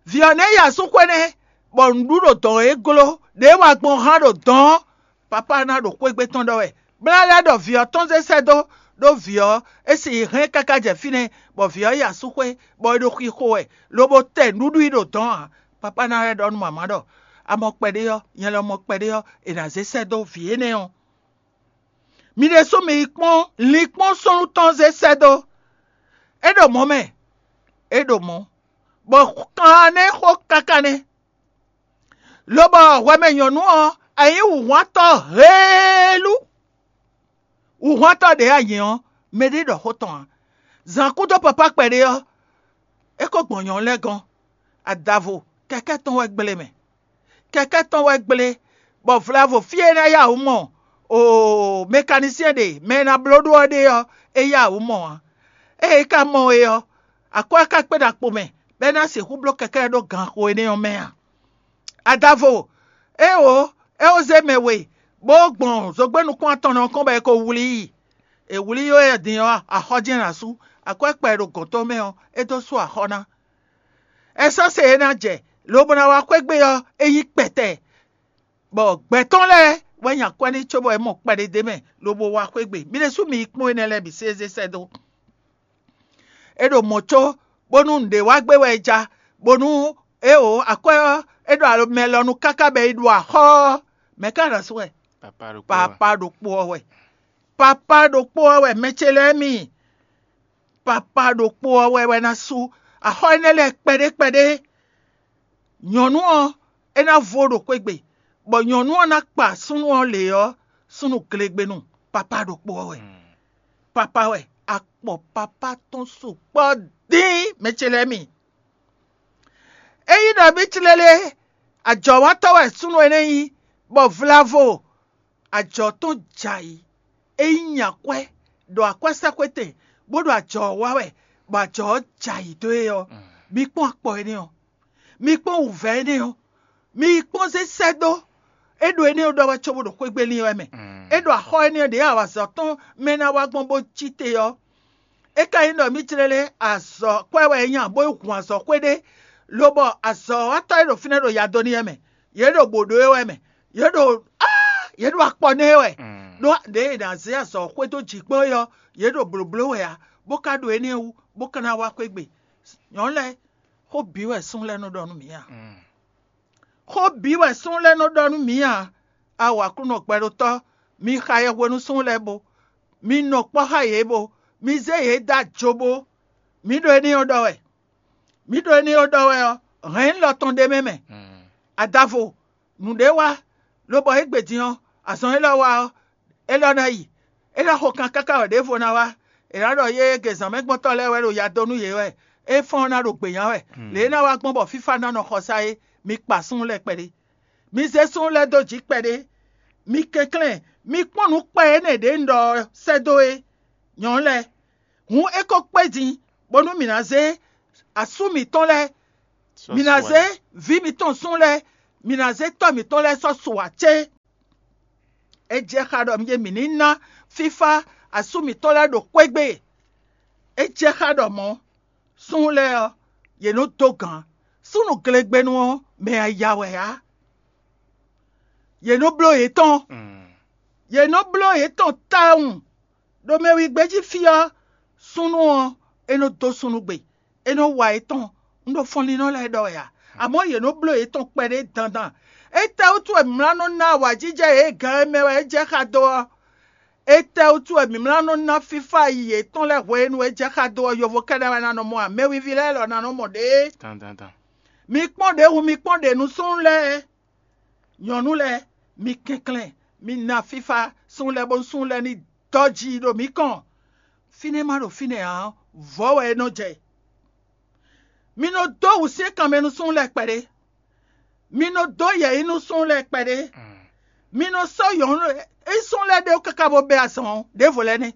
Vǐ ɔ́ nɛ́ yi asú xwé nɛ́, bɔ nǔɖuɖu ɖo dɔ̌n e gló, ɖě wa gbɔn hán ɖo dɔ̌n, papá ná ɖo xwégbé tɔn ɖɔ wɛ. Bla lɛ́ɛ ɖɔ vǐ ɔ́ tɔn zé sɛ́ dó, ɖó vǐ ɔ́, é si yi hɛn káká jɛ fínɛ́, bɔ vǐ ɔ́ yi asú xwé, bɔ é ɖo xixo wɛ, lobo tɛ nǔɖuɖu i ɖo dɔ̌n ǎ. Papá ná lɛ́ ɖɔ nú mama ɖɔ: "A mɔ kpɛɖé ɔ́, nyɛ lɔ mɔ kpɛɖé ɔ́, è nǎ zé sɛ́ dó vǐ énɛ́ ɔ́." Mi ɖésú mi yi kpɔ́n linkpɔ́n súnnu tɔn zé sɛ́ dó. É ɖo mɔ̌ mɛ, é ɖo mɔ̌, bɔ kan nɛ́ xó káká nɛ́. Lobɔ hwɛmɛ nyɔ̌nu ɔ́, a nyǐ wǔhwantɔ́ heelú. Wǔhwantɔ́ ɖě a nyǐ ɔ́, mɛɖé ɖɔ xó tɔn ǎ. Zǎn kúdó papá kpɛɖé ɔ́, é ko gbɔn nyɔ̌nu lɛ́ɛ gɔ́n. Adavo, kɛkɛ́ tɔn wɛ gblé mɛ. Kɛkɛ́ tɔn wɛ gblé, bɔ vlavo fí e é ná yá wǔ mɔ oo mɛkanísyɛn ɖe mɛ e ná bló ɖó ɔ́ ɖe ɔ́, é yá wǔ mɔ ǎ. Ée é ka mɔ é ɔ́, akwɛ́ ɔ́ ka kpé ɖo akpo mɛ, bɔ é ná sixú bló kɛkɛ́ ɔ́ ɖó ganxo énɛ́ ɔ́ mɛ a? Adavo, éeǒ, é ó zé mɛ we, bó gbɔn zogbɛ́ nukún atɔn ɔ́ kɔn bɔ è ko wlí i. È wlí yó e din ɔ́, axɔ́ jɛ́n ná sú. Akwɛ́ kpɛ e ɖo gɔ̌n tɔn mɛ ɔ́, é dó sú axɔ́ ná. Ɛsási e é ná jɛ, lobo ná wá xwé gbe ɔ́, é nyí kpɛtɛ, bɔ gbɛ̌ tɔn lɛ́ɛ wɛ nyi akwɛ́ n'i cóbɔ é mɔ kpɛɖé d'é mɛ, lobo wá xwé gbe. Mi ɖésú mi yi kpɔ́n énɛ́ lɛ́ɛ bǐ sésé sɛ́ dó. É ɖo mɔ̌ có, bónú nǔɖé wá gbé wɛ é ja, bónú éeǒ, akwɛ́ ɔ́, é ɖo alɔ mɛ lɔ nu káká bɔ é ɖo axɔ́ ɔ́, mɛ̌ ka ná sú wɛ? Papá ɖokpó ɔ́ wɛ. Papá ɖokpó ɔ́ wɛ, mɛ ce lɛ́ɛ mi. Papá ɖokpó ɔ́ wɛ wɛ ná sú axɔ́ énɛ́ lɛ́ɛ kpɛɖé kpɛɖé. Nyɔ̌nu ɔ́, é ná vo ɖo xwé gbe, bɔ nyɔ̌nu ɔ́ ná kpa súnnu ɔ́ lě ɔ́, súnnu glegbenu, papá ɖokpó ɔ́ wɛ. Papá wɛ, akpɔ papá tɔn sukpɔ́ dín, mɛ ce lɛ́ɛ mi. Ényí nɔví clélé, ajɔ̌watɔ́ wɛ súnnu énɛ́ nyí, bɔ vlavo ajɔ̌ tɔn jɛ ayǐ. Ényí nyi akwɛ́ ɖo akwɛ́sɛ́xwetɛn, bó ɖo ajɔ̌ ɔ́ wa wɛ, bɔ ajɔ̌ ɔ́ jɛ ayǐ dó e ɔ́, mi kpɔ́n akpɔ énɛ́ ɔ́, mi kpɔ́n wǔvɛ́ énɛ́ ɔ́, mi yi kpɔ́n zé sɛ́ dó. É ɖo énɛ́ ɔ́ ɖɔ wɛ cóbó ɖo xwé gbe lin wɛ mɛ. É ɖo axɔ́ énɛ́ ɔ́ ɖě awǎzɔ́ tɔn mɛ ná wá gbɔn bó cí te ɔ́. É ka nyí ɖɔ mǐ jlɛ́ lé azɔ̌ kwɛ́ wɛ é nya, bó yi hun azɔ̌ xwé ɖé, lobɔ azɔ̌watɔ́ e ɖo fínɛ́ ɖo ya dó n'i wɛ mɛ. Yě ɖo bǒ ɖó é wɛ mɛ. Yě ɖo áa, yě ɖo akpɔ nɛ́ é wɛ. Ɖó ɖěe è nǎ zé azɔ̌ xwé dó jǐ kpɔ́n é ɔ́, yě ɖo blǒbló wɛ ǎ, bó ka ɖo énɛ́ wú, bó ka ná wá xwé gbe. Nyɔ̌nu lɛ́ɛ, xó bǐ wɛ súnnu lɛ́ɛ nɔ ɖɔ nú mǐ a? Xó bǐ wɛ súnnu lɛ́ɛ nɔ ɖɔ nú mǐ a? A wǎ Aklúnɔ gbɛɖótɔ́, mi xa yɛhwenu súnnu lɛ́ɛ bo, mi nɔ kpɔ́ xá yě bo, mi zé yě dó ajobo. Mǐ ɖo énɛ́ ɔ́ ɖɔ wɛ. Mǐ ɖo énɛ́ ɔ́ ɖɔ wɛ ɔ́, hɛ̌nlɔ tɔn ɖ'é mɛ mɛ. Adavo, nǔɖé wá, lobɔ égbé din ɔ́, azɔn élɔ́ wá ɔ́, élɔ́ ná yi. É ná xo kan káká wɛ ɖěvo ná wá. È nǎ ɖɔ yé gezǎnmɛgbɔ́ntɔ́ lɛ́ɛ wɛ ɖo ya dó nú yě wɛ, é fɔ́n ɔ́ ná ɖo gběnya wɛ. Lě e é ná wá gbɔn bɔ fífá ná nɔ xɔsá é, mi kpa súnnu lɛ́ɛ kpɛɖé. Mi zé súnnu lɛ́ɛ dó jǐ kpɛɖé. Mi kɛnklɛ́n, mi kpɔ́n nǔ kpɛ énɛ́ ɖě un ɖɔ ɔ́ sɛ́ dó é. Nyɔ̌nu lɛ́ɛ, hǔn é ko kpé din, bónú mǐ ná zé asú mǐtɔn lɛ́ɛ, mǐ ná zé vǐ mǐtɔn súnnu lɛ́ɛ, mǐ ná zé tɔ́ mǐtɔn lɛ́ɛ sɔ́ su ǎ cé? É jɛ xá ɖɔ mǐ mǐ ní ná fífá asú mǐtɔn lɛ́ɛ ɖo xwé gbe. É jɛ xá ɖɔ mɔ̌, súnnu lɛ́ɛ ɔ́, yě nɔ dó gǎn. Súnnu glegbenu ɔ́, mɛ yaya wɛ ǎ. Yě nɔ bló yětɔn. Yě nɔ bló yětɔn tawun. Ɖo mɛ wǐ gbéjí fí ɔ́, súnnu ɔ́, é nɔ dó súnnu gbe, é nɔ wa yětɔn. Un ɖo fɔnlínnɔ lɛ́ɛ ɖɔ wɛ a? Amɔ̌ yě nɔ bló yětɔn kpɛɖé dandan. Étɛ́wútu wɛ mlá nɔ ná awǎjijɛ yě gǎn e mɛ wɛ é jɛ xá dó ɔ́? Étɛ́wútu wɛ mǐ mlá nɔ ná fífá yi yětɔn lɛ́ɛ hwenu e jɛ xá dó ɔ́, yovo kɛ́ɖɛ́ wɛ ná nɔ mɔ ǎ; mɛwiví lɛ́ɛ lɔ ná nɔ mɔ ɖě. Dandandan. Mi kpɔ́n ɖě hu, mi kpɔ́n ɖě nú súnnu lɛ́ɛ, nyɔ̌nu lɛ́ɛ, mi kɛnklɛ́n, mi ná fífá súnnu lɛ́ɛ bónú súnnu lɛ́ɛ ní dɔ́ ji ɖo mǐ kɔn. Fínɛ́ ma ɖo fínɛ́ ǎ ɔ́, vɔ̌ wɛ é nɔ jɛ. Mi nɔ dó wǔsyɛ́nkan mɛ nú súnnu lɛ́ɛ kpɛɖé. Mi nɔ dó yɛ̌yi nú súnnu lɛ́ɛ kpɛɖé. Mi nɔ sɔ́ nyɔ̌nu e súnnu lɛ́ɛ ɖe wú káká bó bɛ́ azɔn ɔ́, ɖěvo lɛ́ɛ nɛ́.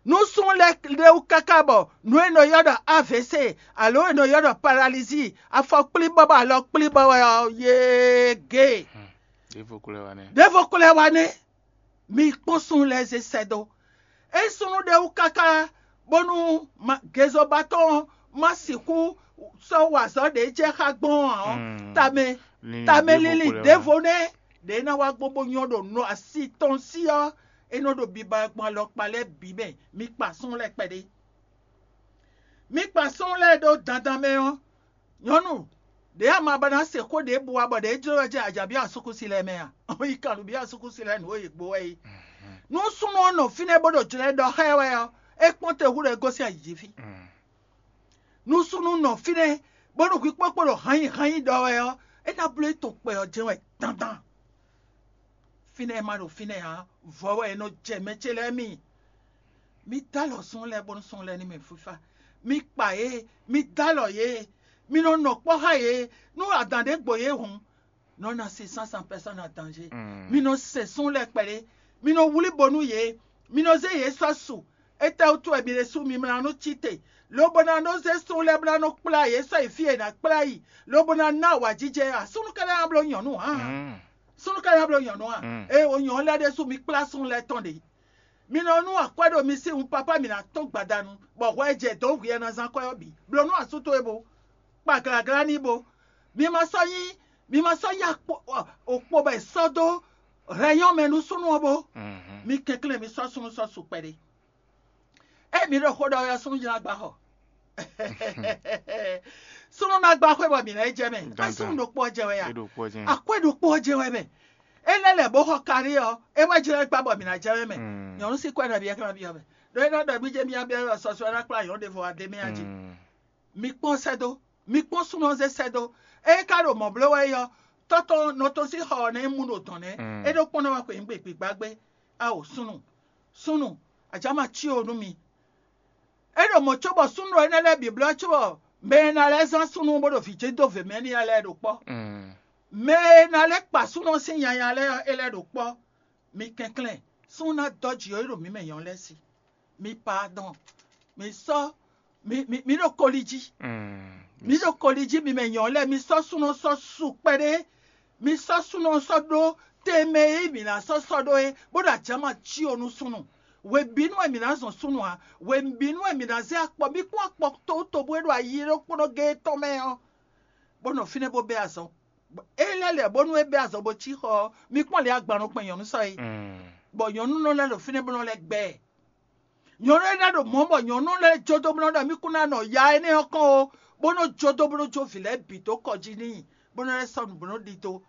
Nú súnnu lɛ́ɛ ɖe wú káká bɔ nǔ e è nɔ ylɔ́ ɖɔ A V C alo è nɔ ylɔ́ ɖɔ paralízi, afɔ kplíbɔ́ bɔ alɔ kplíbɔ́ wɛ ɔ́, yéegée. Ɖěvo ko lɛ́ wá nɛ́. Ɖěvo ko lɛ́ wá nɛ́. Mi kpɔ́n súnnu lɛ́ɛ zé sɛ́ dó. É súnnu ɖe wú káká bónú gezoba tɔn ɔ́ ma sixú sɔ́ wa azɔ̌ ɖě jɛ xá gbɔn ǎ ɔ́, tamɛ tamɛ lili ɖěvo nɛ́ ɖě ná wá gbɔn bó nyɔ́ ɖo nɔ asi tɔn sí ɔ́, é nɔ ɖo biba gbɔn alɔkpa lɛ́ɛ bǐ mɛ. Mi kpa súnnu lɛ́ɛ kpɛɖé. Mi kpa súnnu lɛ́ɛ ɖó dandan mɛ ɔ́, nyɔ̌nu ɖě ama ba ná se xó ɖěbǔ ǎ bɔ ɖě jló wɛ jɛ ajǎ byɔ́ asúkúsi lɛ́ɛ mɛ a? Yi kan nǔ byɔ́ asúkúsi lɛ́ɛ nǔ e yě gbó wɛ é. Nú súnnu ɔ́ nɔ fínɛ́ bó ɖo jlɛ́ ɖɔ xá ɛ wɛ ɔ́, é kpɔ́n te hú ɖɔ é gosín ayǐ jí fí. Nú súnnu nɔ fínɛ́ bónú hwikpókpó ɖo hannyi hannyi ɖɔ wɛ ɔ́, é ná bló é tɔn kpɛ ɔ́ jɛ́n wɛ dandan. Fínɛ́ ma ɖo fínɛ́ ǎ, vɔ̌ wɛ è nɔ jɛ mɛ ce lɛ́ɛ mi. Mi dó alɔ súnnu lɛ́ɛ bónú súnnu lɛ́ɛ ní mɛ fífá. Mi kpa yě, mi dó alɔ yě, mi nɔ nɔ kpɔ́ xá yě. Nú adǎn ɖé gbo yě hǔn, nɔ na se sánsan pɛsɔn na danzé. Mi nɔ se súnnu lɛ́ɛ kpɛɖé, mi nɔ wlí bo nú yě, mi nɔ zé yě sɔ́ su. Étɛ́wútu wɛ mi ɖésú mi mlá nú cí te, lobo ná nɔ zé súnnu lɛ́ɛ bó ná nɔ kplá yě sɔ́ yi fí e è nǎ kplá yi, lobo ná ná awǎjijɛ ǎ? Súnnu ka ná bló nyɔ̌nu ǎ. Súnnu ka ná bló nyɔ̌nu ǎ. Ée o nyɔ̌nu lɛ́ɛ ɖésú mi kplá súnnu lɛ́ɛ tɔn ɖě. Mi nɔ nú akwɛ́ ɖo mi sín wun papá mi ná tɔ́n gbadanu, bɔ hwɛ e jɛ dǒ hwi e ná zán kwɛ́ ɔ́ bǐ. Blǒ nú asú towe bo, kpa glǎglá n'i bo. Mi ma sɔ́ nyí mi ma sɔ́ nyí okpo bɔ è sɔ́ dó hɛnyɔ́ mɛ nú súnnu ɔ́ bó. Mi kɛnklɛ́n mi sɔ́ súnnu sɔ́ su kpɛɖé. Ée mi ɖo xó ɖɔ ɔ́, súnnu jlá gba xɔ. Súnnu ná gba xwé bɔ mǐ ná yi jɛ mɛ. Ká súnnu ɖokpó ɔ́ jɛ wɛ ya? Akwɛ́ ɖokpó ɔ́ jɛ wɛ mɛ. É lɛ́ lɛ̌ bó xɔ karí ɔ́, é wɛ jlɛ́ gbá bɔ mǐ ná jɛ wɛ mɛ. Nyɔ̌nu sín kwɛ́ nabí ɛ ká ná byɔ́ mɛ. Ɖó é ná ɖɔ mí jɛ mía byɔ́ wɛ sɔsɔ́ ná kplá nyɔ̌nu ɖěvo wá dé mɛ a jí. Mi kpɔ́n sɛ́ dó, mi kpɔ́n súnnu ɔ́ zé sɛ́ dó. Ée é ka ɖo mɔ̌ bló wɛ é ɔ́, tɔ́ tɔn nɔ tɔn sín xɔ ɔ́ nɛ́ mu ɖo dɔ̌n nɛ́. É ɖó kpɔ́n ná wá xweyǐgbe gbǐgbá gbé. Ao súnnu, súnnu, ajǎ ma cí o nú mi. É ɖo mɔ̌ cóbɔ súnnu énɛ́ lɛ́ɛ bǐ blɔ́ cóbɔ mɛ e ná lɛ́ zán súnnu bó ɖo vǐ jɛ́n dó vě mɛ n'i lɛ́ɛ ɖo kpɔ́. Mɛ e ná lɛ́ kpa súnnu sín nyanya lɛ́ɛ ɔ́, é lɛ́ ɖo kpɔ́. Mi kɛnklɛ́n, súnnu ná dɔ́ jǐ ɔ́ yi ɖo mǐ mɛ nyɔ̌nu lɛ́ɛ sí. Mi pardɔn, mi sɔ́ mi mi mi ɖo koli jí. Mi ɖo koli jí mi mɛ nyɔ̌nu lɛ́ɛ, mi sɔ́ súnnu sɔ́ su kpɛɖé. Mi sɔ́ súnnu sɔ́ ɖó tɛnmɛ e mǐ ná sɔ́ sɔ́ ɖó é, bó ɖo ajǎma cí o nú súnnu. Hwebǐnu wɛ mǐ ná zɔn súnnu ǎ. Hwebǐnu wɛ mǐ ná zé akpɔ. Mi kpɔ́n akpɔ towútobú e ɖo ayi ɖokpónɔ géé tɔn mɛ ɔ́, bó nɔ fínɛ́ bó bɛ́ azɔn. É lɛ́ lɛ̌ bónú é bɛ́ azɔn bó cí xɔ ɔ́, mi kpɔ́n lě agban nɔ kpɛn nyɔ̌nu sɔ́ é. Bɔ nyɔ̌nu nɔ lɛ́ ɖo fínɛ́ bó nɔ lɛ́ gbɛ ɛ. Nyɔ̌nu énɛ́ ɖo mɔ̌ bɔ nyɔ̌nu lɛ́ɛ jó dó bó nɔ ɖɔ mì kún ná nɔ ya énɛ́ ɔ́ kɔn ó, bó nɔ́ jó dó bó nɔ́ jó vǐ lɛ́ɛ bǐ dó kɔ jí n'i, bó nɔ́ lɛ́ sɔ́ nǔ bó nɔ́ ɖidó.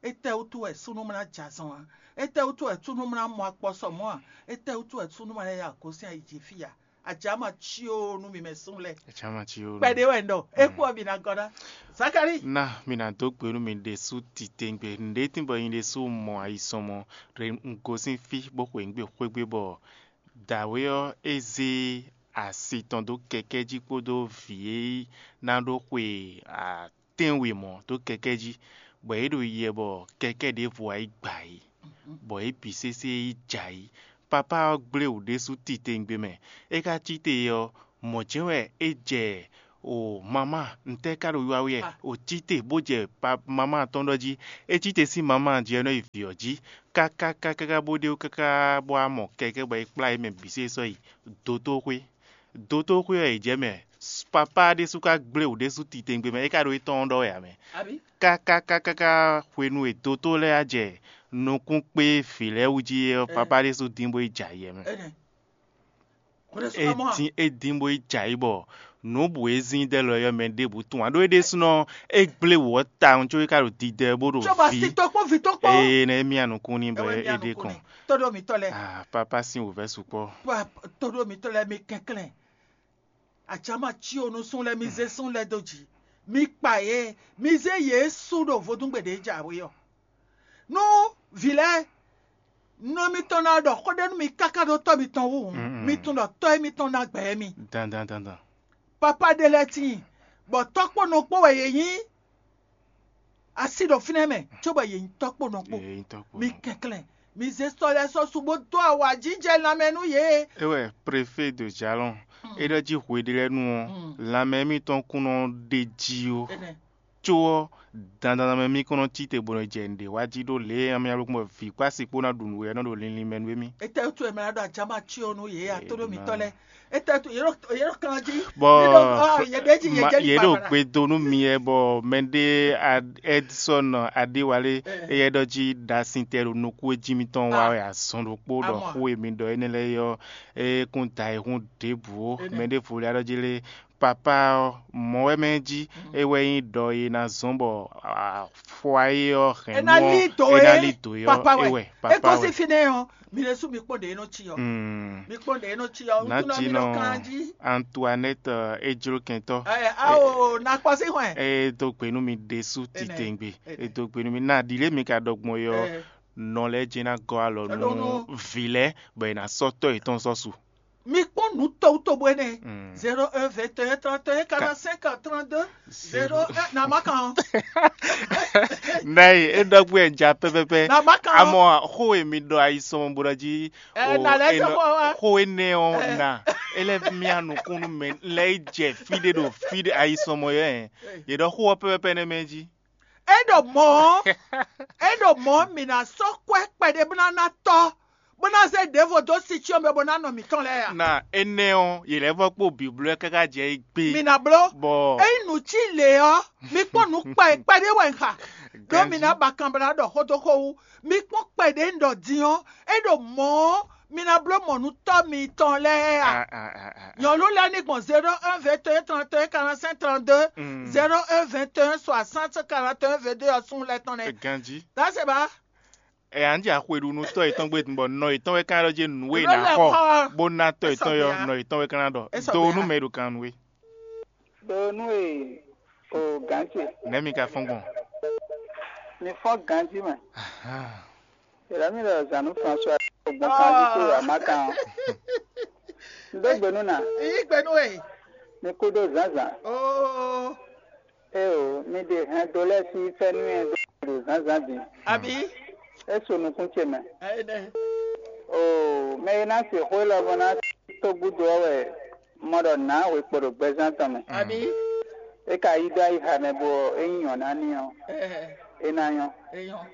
Étɛ́ wútu wɛ súnnu ma ná jɛ azɔn ǎ? Étɛ́ wútu wɛ súnnu ma ná mɔ akpɔ sɔ mɔ̌ ǎ? Étɛ́ wútu wɛ súnnu ma ná ya gosín ayi jí fí ǎ? Ajǎ ma cí ó nú mi mɛ súnnu lɛ́ɛ. Ajǎ ma cí ó nú. Kpɛɖé wɛ un ɖɔ, é kú ɔ́ mi ná gɔ́ ná. Zakalíi. Ná mi ná dó gbe nú mi ɖésú titewungbe. Nǔɖé tín bɔ nyi ɖésú mɔ ayisɔnmɔ ɖe un gosín fí bó xweyǐgbe xwé gbe bɔ dǎwe ɔ́ é zé asi tɔn dó kɛkɛ́ jí kpódó vǐ e ná ɖó xwe atɛ́nwe mɔ̌ dó kɛkɛ́ jí, bɔ yě ɖo yiyi wɛ bɔ kɛkɛ́ ɖěvo wá yi gbǎ yě, bɔ yě bǐ sésé yi jɛ ayǐ. Papá ɔ́ gblé wǔ ɖésú titewungbe mɛ. É ka cí te ɔ́, mɔ̌ jɛ́n wɛ é jɛ o mamá ntɛ́ ka ɖo wiwa wɛ o cí te bó jɛ mamá tɔn ɖɔ jí. É cí te sín mamá jí ɔ́ nɔ yi vǐ ɔ́ jí káká káká bó ɖe káká bó wá mɔ kɛkɛ́ bɔ é kplá yě mɛ bǐ sésé sɔ́ yi dotóxwé. Dotóxwé ɔ́ è jɛ mɛ. Papá ɖésú ka gblé wǔ ɖésú titewungbe mɛ, é ka ɖo étɔn ɔ́ ɖɔ wɛ ǎ mɛ. Káká káká hwenu e dotó lɛ́ɛ wá jɛ nukún kpé vǐ lɛ́ɛ wú jí é ɔ́, papá ɖésú dín bó yi jɛ ayɛ mɛ. É dín é dín bó yi jɛ ayǐ bɔ Nǔ bǔ e zín dɛ́ lɔ ɔ́, mɛ ɖěbǔ tunwun ǎ ɖó é ɖésúnɔ é gblé wǔ ɔ́ tawun có é ka ɖo didɛ bó ɖo Cóbɔ vǐ. Si tɔkpɔ́n vǐ tɔkpɔ́n. Ee, nɛ́ mì anukún ní bɔ Ewɛ é ɖe kɔn. Tó ɖo mǐtɔn lɛ́ɛ. Ah, pápá sín wǔvɛ́ sukpɔ́. Tó ɖo mǐtɔn lɛ́ɛ mi kɛnklɛ́n. Acáma cí o nú sún lɛ́ɛ mi zé sún lɛ́ɛ dó jǐ. Mi kpa yě, mi zé yě sú ɖo vodúngbe ɖě jǎwe ɔ́. Nú vǐ lɛ́ɛ, nɔ mitɔn ná ɖɔ xó ɖé nú mi káká ɖó tɔ́ mitɔn wú hǔn, mi tunwun ɖɔ tɔ́ émítɔn ná gbɛ émí. Dandan dandan. Papá ɖé lɛ́ɛ tíin, bɔ tɔ́ kpó nɔ kpó wɛ yě nyí asi ɖo fínɛ́ mɛ, cóbɔ yě nyí tɔ́ kpó nɔ kpó. Yě nyí tɔ́ kpó Mi nɔ. Kɛnklɛ́n, mi zé sɔ́ lɛ́ɛ sɔ́ su bó dó awǎjijɛ lanmɛ nú yě. É wɛ préfé de jalɔn é ɖɔ jí hweɖélɛ́nu ɔ́, lanmɛ émítɔn kún nɔ ɖe jí ó. Énɛ́. Có ɔ́, dandan mɛ mì kɔn nɔ cí te bó nɔ jɛ nǔɖé wa jí ɖó lě e amyɔ́lukpɔ́ vǐ kpó asi kpó ná ɖu nǔ wɛ ɔ́ nɔ ɖo linlin mɛ nú émí. Etɛ́ wútu wɛ mɛ ná ɖo ajǎma cí ɔ́ nú yě atóɖó mitɔn lɛ́ɛ? Etɛ́ wútu yě ɖo yě ɖo kan jí? Bɔ Yě ɖo, ah, yě ɖe jí, yé ma- jɛ yě ɖo gbe do nú mi wɛ bɔ mɛɖé Edson Adéwálé, éyɛ́ ɖɔ jí ɖasin tɛ ɖo nukún e jí mitɔn wa wɛ azɔn ɖokpó ɖɔ xó e mi ɖɔ énɛ́ lɛ́ɛ ɔ́, é kún da ayihún ɖěbǔ ó. Mɛɖěvo lɛ́ɛ ɖɔ jí lé, papá ɔ́, mɔ̌ wɛ mɛ jí, é wɛ nyí ɖɔ e ná zɔ́n bɔ afɔ ayé ɔ́ hɛn É ná nú lí ɔ́, dǒ é ná é, lí dǒ é ɔ́, papa é wɛ. Wɛ, É papa gosín wɛ. Fínɛ́ ɔ́, mi ɖésú mi kpɔ́n ɖě é nɔ cí ɔ́. Mm. Mi kpɔ́n ɖě é nɔ cí ɔ́, Ná wútu ná jí mi nɔ nɔ kan jí. Antoinette, eh, é jló kɛntɔ́. Ɛ, ao, na kpɔ́ sí hwɛn. É dó gbe nú mi ɖésú Énɛ́, titewungbe. Énɛ́. É dó gbe nú mi. Ná ɖi lě mi ka ɖɔ gbɔn é ɔ́, Ɛ. Nɔ lɛ́ɛ jɛ́n ná gɔ́ alɔ Alɔ nú nú vǐ lɛ́ɛ, bɔ è nǎ sɔ́ tɔ́ yětɔn sɔ́ su. Mi kpɔ́n nǔ towútowú énɛ́. Mm. Zéro un, vingt et un, trente et un, quarante-cinq, trente-deux, zéro un, na ma kan. Nɛ́ é ɖɔ gbé ɛ ja pɛpɛpɛ. Na ma kan. Amɔ xó e mi ɖɔ ayisɔn bó ɖɔ jí Ɛ, o, na lɛ́ é jɔ nɔ- xó wa. Xó énɛ́ ɔ́ Ɛ. Na é lɛ́ mía nukún nú mɛ lɛ́ yi jɛ fí ɖé ɖo fí ɖé ayisɔn mɔ yɔ ɛ. Yě ɖɔ xó ɔ́ pɛpɛpɛ nɛ́ mɛ jí. É ɖo mɔ̌ ɔ́, é ɖo mɔ̌ ɔ́, mǐ ná sɔ́ kwɛ́ kpɛɖé bó ná ná tɔ́, bó ná zé ɖěvo dó sin cyɔ́n mɛ bó ná nɔ mǐtɔn lɛ́ɛ a? Na énɛ́ ɔ́, yě lɛ́ vɔ́ kpó bǐbló ɛ káká jɛ é gbé. Mi ná bló. Bɔ Ényí nǔ cí lě ɔ́, mi kpɔ́n nǔ kpɛ kpɛɖé wɛ un xa. Ɖó mi ná ba kanblá ɖɔ xó dó xó wú. Mi kpɔ́n kpɛɖé un ɖɔ din ɔ́, é ɖo mɔ̌ ɔ́, mi ná bló mɔ̌ nú tɔ́ mitɔn lɛ́ɛ a? Ah, ah, ah, ah, ah. Nyɔ̌nu lɛ́ɛ ní gbɔn zéro un, vingt et un, trente et un, quarante-cinq, trente-deux, Mm. zéro un, vingt et un, soixante, quarante et un, vingt-deux ɔ́ sún lɛ́ɛ tɔn nɛ́. Ganjí. That's it, ba. Ɛ anji axweɖunutɔ yětɔn gbe bɔ nɔ yětɔn wɛ kan ɖɔ jɛ nǔ e Nɔ ná lɛ xɔ xɔ. Bó ná tɔ yětɔn yɔ Esɔgbia. Nɔ yětɔn wɛ kan ná ɖɔ Esɔgbia. Do nú mɛ e ɖo kan nú we. Ɖo nú e o gǎn ce. Nɛ̌ mi ka fɔ́n gbɔn? Mi fɔ́n ganjí mɛ. Ahan. Yɛlɛ mi ɖɔ zanu François gbɔn kan jí kó wà má kan ɔ́. N dó gbe nú nà. Yí gbe nú e. Mi kú dó zǎnzǎn. Oo. Eo, mi ɖe hɛn do lɛ́ɛ sín fɛ́nú e ɖo zǎnzǎn din. Abǐ? É su nukún ce mɛ. Ɛnɛ. Oo, mɛ e ná se xó élɔ́ bɔ ná tó gúdo ɔ́ wɛ mɔ ɖɔ nǎ hwe kpo ɖo gbɛzán tɔn mɛ. Abǐ? É ka yí dó ayixa mɛ bɔ é nyí nyɔ̌ná n'i ɔ́, Ɛɛ. É ná nyɔ́. É nyɔ́.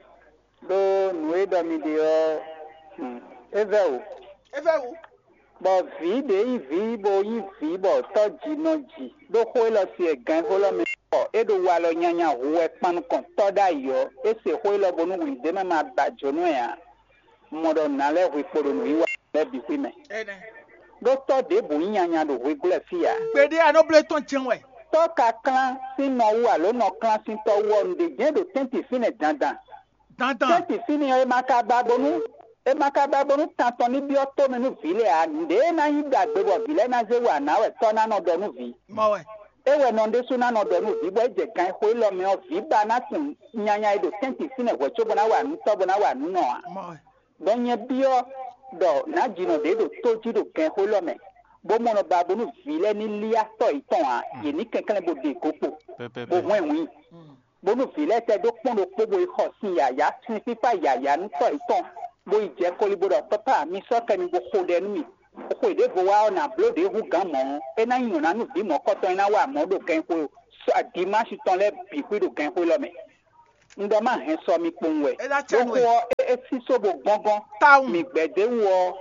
Ɖó nǔ e ɖɔ mi ɖe ɔ́, hmm, é vɛ́ wǔ. É vɛ́ wǔ. Bɔ vǐ ɖě nyí vǐ bó nyí vǐ bɔ tɔ́ ji nɔ ji ɖó xó élɔ́ sin e gǎnxó élɔ́ mɛ bɔ é ɖo walɔ nyanya hu wɛ kpan nukɔn tɔ́ ɖ'ayǐ ɔ́, é se xó élɔ́ bónú wǐndémɛ ma ba jǒnú ɛ ǎ. Un mɔ ɖɔ nǎ lɛ́ hwe kpo ɖo nǔwiwa lɛ́ɛ bǐ xwí mɛ. Ɖó tɔ́ ɖěbǔ nyí nyanya ɖo hweglɔ́ fí ǎ. Gbeɖé a nɔ bló tɔn jɛ́n wɛ. Tɔ́ ka klán sín nɔ wú alo nɔ klán sín tɔ́ wú ɔ́, nǔɖé jɛ́n ɖo tɛ́ntin fínɛ́ dandan. Dandan. Tɛ́ntin fínɛ́ ɔ́, é ma ka ba bónú é ma ka ba bónú tan tɔn ní byɔ́ tó mɛ nú vǐ lɛ́ɛ ǎ. Nǔɖé e ná nyí ɖagbe bɔ vǐ lɛ́ɛ ná zé wa nǎ wɛ tɔ́ ná nɔ ɖɔ nú vǐ. Mɔ wɛ. É wɛ nɔ ɖésú ná nɔ ɖɔ nú vǐ bɔ é jɛ gan e xo élɔ́ mɛ ɔ́, vǐ ba ná tunwun nyanya e ɖo tɛ́ntin fínɛ́ hwɛ̌ cóbó ná wa nǔ tɔ́ bó ná wa nǔ nɔ ǎ. Mɔ wɛ. Ɖɔ nyɛ byɔ́ ɖɔ nǎjinɔ ɖě ɖo tó jí ɖo gɛnxó élɔ́ mɛ, bó mɔ nɔ ba bónú vǐ lɛ́ɛ ní líá tɔ́ yětɔn ǎ, yě ní kɛnklɛ́n bó ɖe go kpo, Pɛpɛpɛ. Bó hwɛ́n wǐin, bónú vǐ lɛ́ɛ tɛ́ dó kpɔ́n ɖokpó bó yi xɔ sin yǎyá, sin fífá yǎyá nú tɔ́ yětɔn, bó yi jɛ koli bó ɖɔ: Pápá, mi sɔ́ kɛ mi bó xo ɖɛ nú mì. Xwe ɖěvo wá ɔ́, nǎ bló ɖě hú gǎn mɔ̌, é ná nyí nyɔ̌ná nú vǐ mɔ̌kɔtɔn e ná wa mɔ̌ ɖo gɛnxó dimási tɔn lɛ́ɛ bǐ xwí ɖo gɛnxó élɔ́ mɛ. Un ɖɔ má hɛn sɔ mi kpowun wɛ. É ná cɛ Ɖó nú xó we. Ɔ́, é, é sísó bo gɔ́ngɔ́n. Tawun. Mi gbɛ̌ d'é wú ɔ́,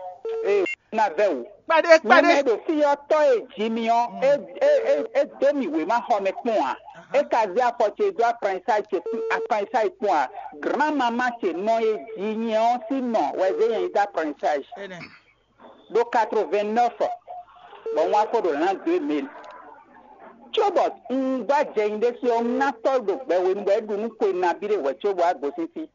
é ná vɛ́ wǔ. Kpɛɖé Nyɛ kpɛɖé. Mɛ ɖo fí ɔ́, tɔ́ e ji mi ɔ́, é, é, é, é dó mi wěma xɔ mɛ kpɔ́n ǎ. É ka zé afɔ ce dó apanyisá ce kpún apanyisá ce kpɔ́n ǎ. Granmama ce nɔ e ji nyɛ ɔ́ sín nɔ wɛ zé nyɛ yi dó apanyisá ce. Énɛ́. Ɖó quatre-vingt-neuf, bɔ un wá ko ɖo lǎn dó e mɛ. Cóbɔ un gbá jɛ nyi ɖésú ɔ́, un ná tɔ́ ɖo gbɛ hwenu bɔ é ɖu nú xwe nabí ɖé hwɛ̌ cóbɔ á gosín fí.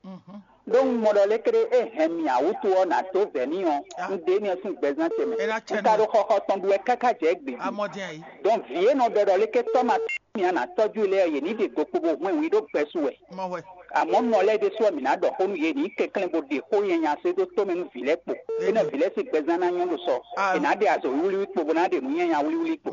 Ɖó un mɔ ɖɔ lékeré é hɛn mì ǎ wútu ɔ́, nǎ dó vɛ̌ n'i ɔ́, un ɖe énɛ́ ɔ́ sín gbɛzán ce mɛ. Un ka ɖo xɔxɔ tɔn ɖu wɛ káká jɛ égbé jí. Dɔn vǐ e nɔ ɖɔ ɖɔ léké tɔ́ ma tɔ́ mì a nǎ tɔ́jú lɛ́ɛ ɔ́, yě ní ɖe go kpo bó hwɛ́n wǔ yi ɖó gbɛ́ su wɛ. Àmọ́ nɔ lɛ́ɛ ɖésú ɔ́, mǐ ná ɖɔ xó nú yě, ní kɛnklɛ́n bó ɖe xó nyanya sɛ́ dó tó mɛ nú vǐ lɛ́ɛ kpo. Énɛ́ vǐ lɛ́ɛ sín gbɛzán ná nyɔ́ ɖo sɔ. È nǎ ɖe azɔ̌ wíwlíwlí kpo bó ná ɖe nǔ nyanya wíwlí kpo.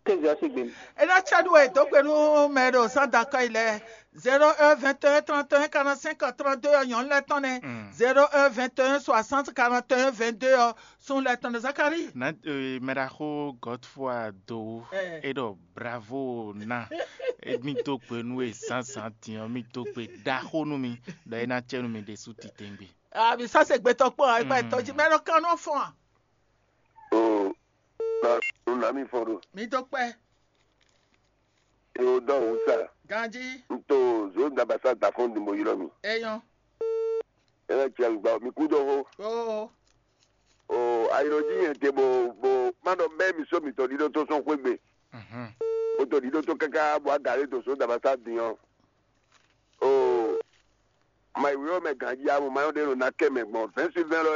Kéze ɔ́ sín gbe mɛ. É ná cá ɖu wɛ dó gbe nú mɛ e ɖo sán da kɔ́ yi lɛ́ɛ. Zéro un vingt et un trente et un quarante-cinq trente-deux ɔ́, nyɔ̌nu lɛ́ɛ tɔn nɛ́. Zéro un vingt et un soixante quarante et un vingt-deux ɔ́, sun lɛ́ɛ tɔn nɛ́. Zakari. Na eh, mɛɖaxó Godfrey Dowu. Eh. E ɖɔ bravo na. E mi dó gbe nú e zǎnzǎn din ɔ́, mi dó gbe ɖaxó nú mi ɖɔ é ná cɛ nú mi ɖésú titewungbe. Abi sase gbetɔ kpɔn, ayi kpa etɔ ji mɛ ɖɔ kan nɔ fɔn a? O, na nu na mi fɔn ɖo. Mi dó kpɛ. E o dɔ wusa. Ganji. N to zo dabasa da fɔn di mo ylɔ mi. Eyɔn. E na cɛ gba mi ku dɔ ho. Oo. O, ayiro ji yɛn te bo bo ma dɔ bɛ mi so mi to di do to sɔn xwe gbe. Mhm. O to di do to kaka bo aga le to so dabasa di ɔn. O, ma yi wíwọ́ mɛ ganjí amú ma yɔ́ ɖé ɖo ná kɛ mɛ gbɔn vɛ̌nsi vɛ́n lɔ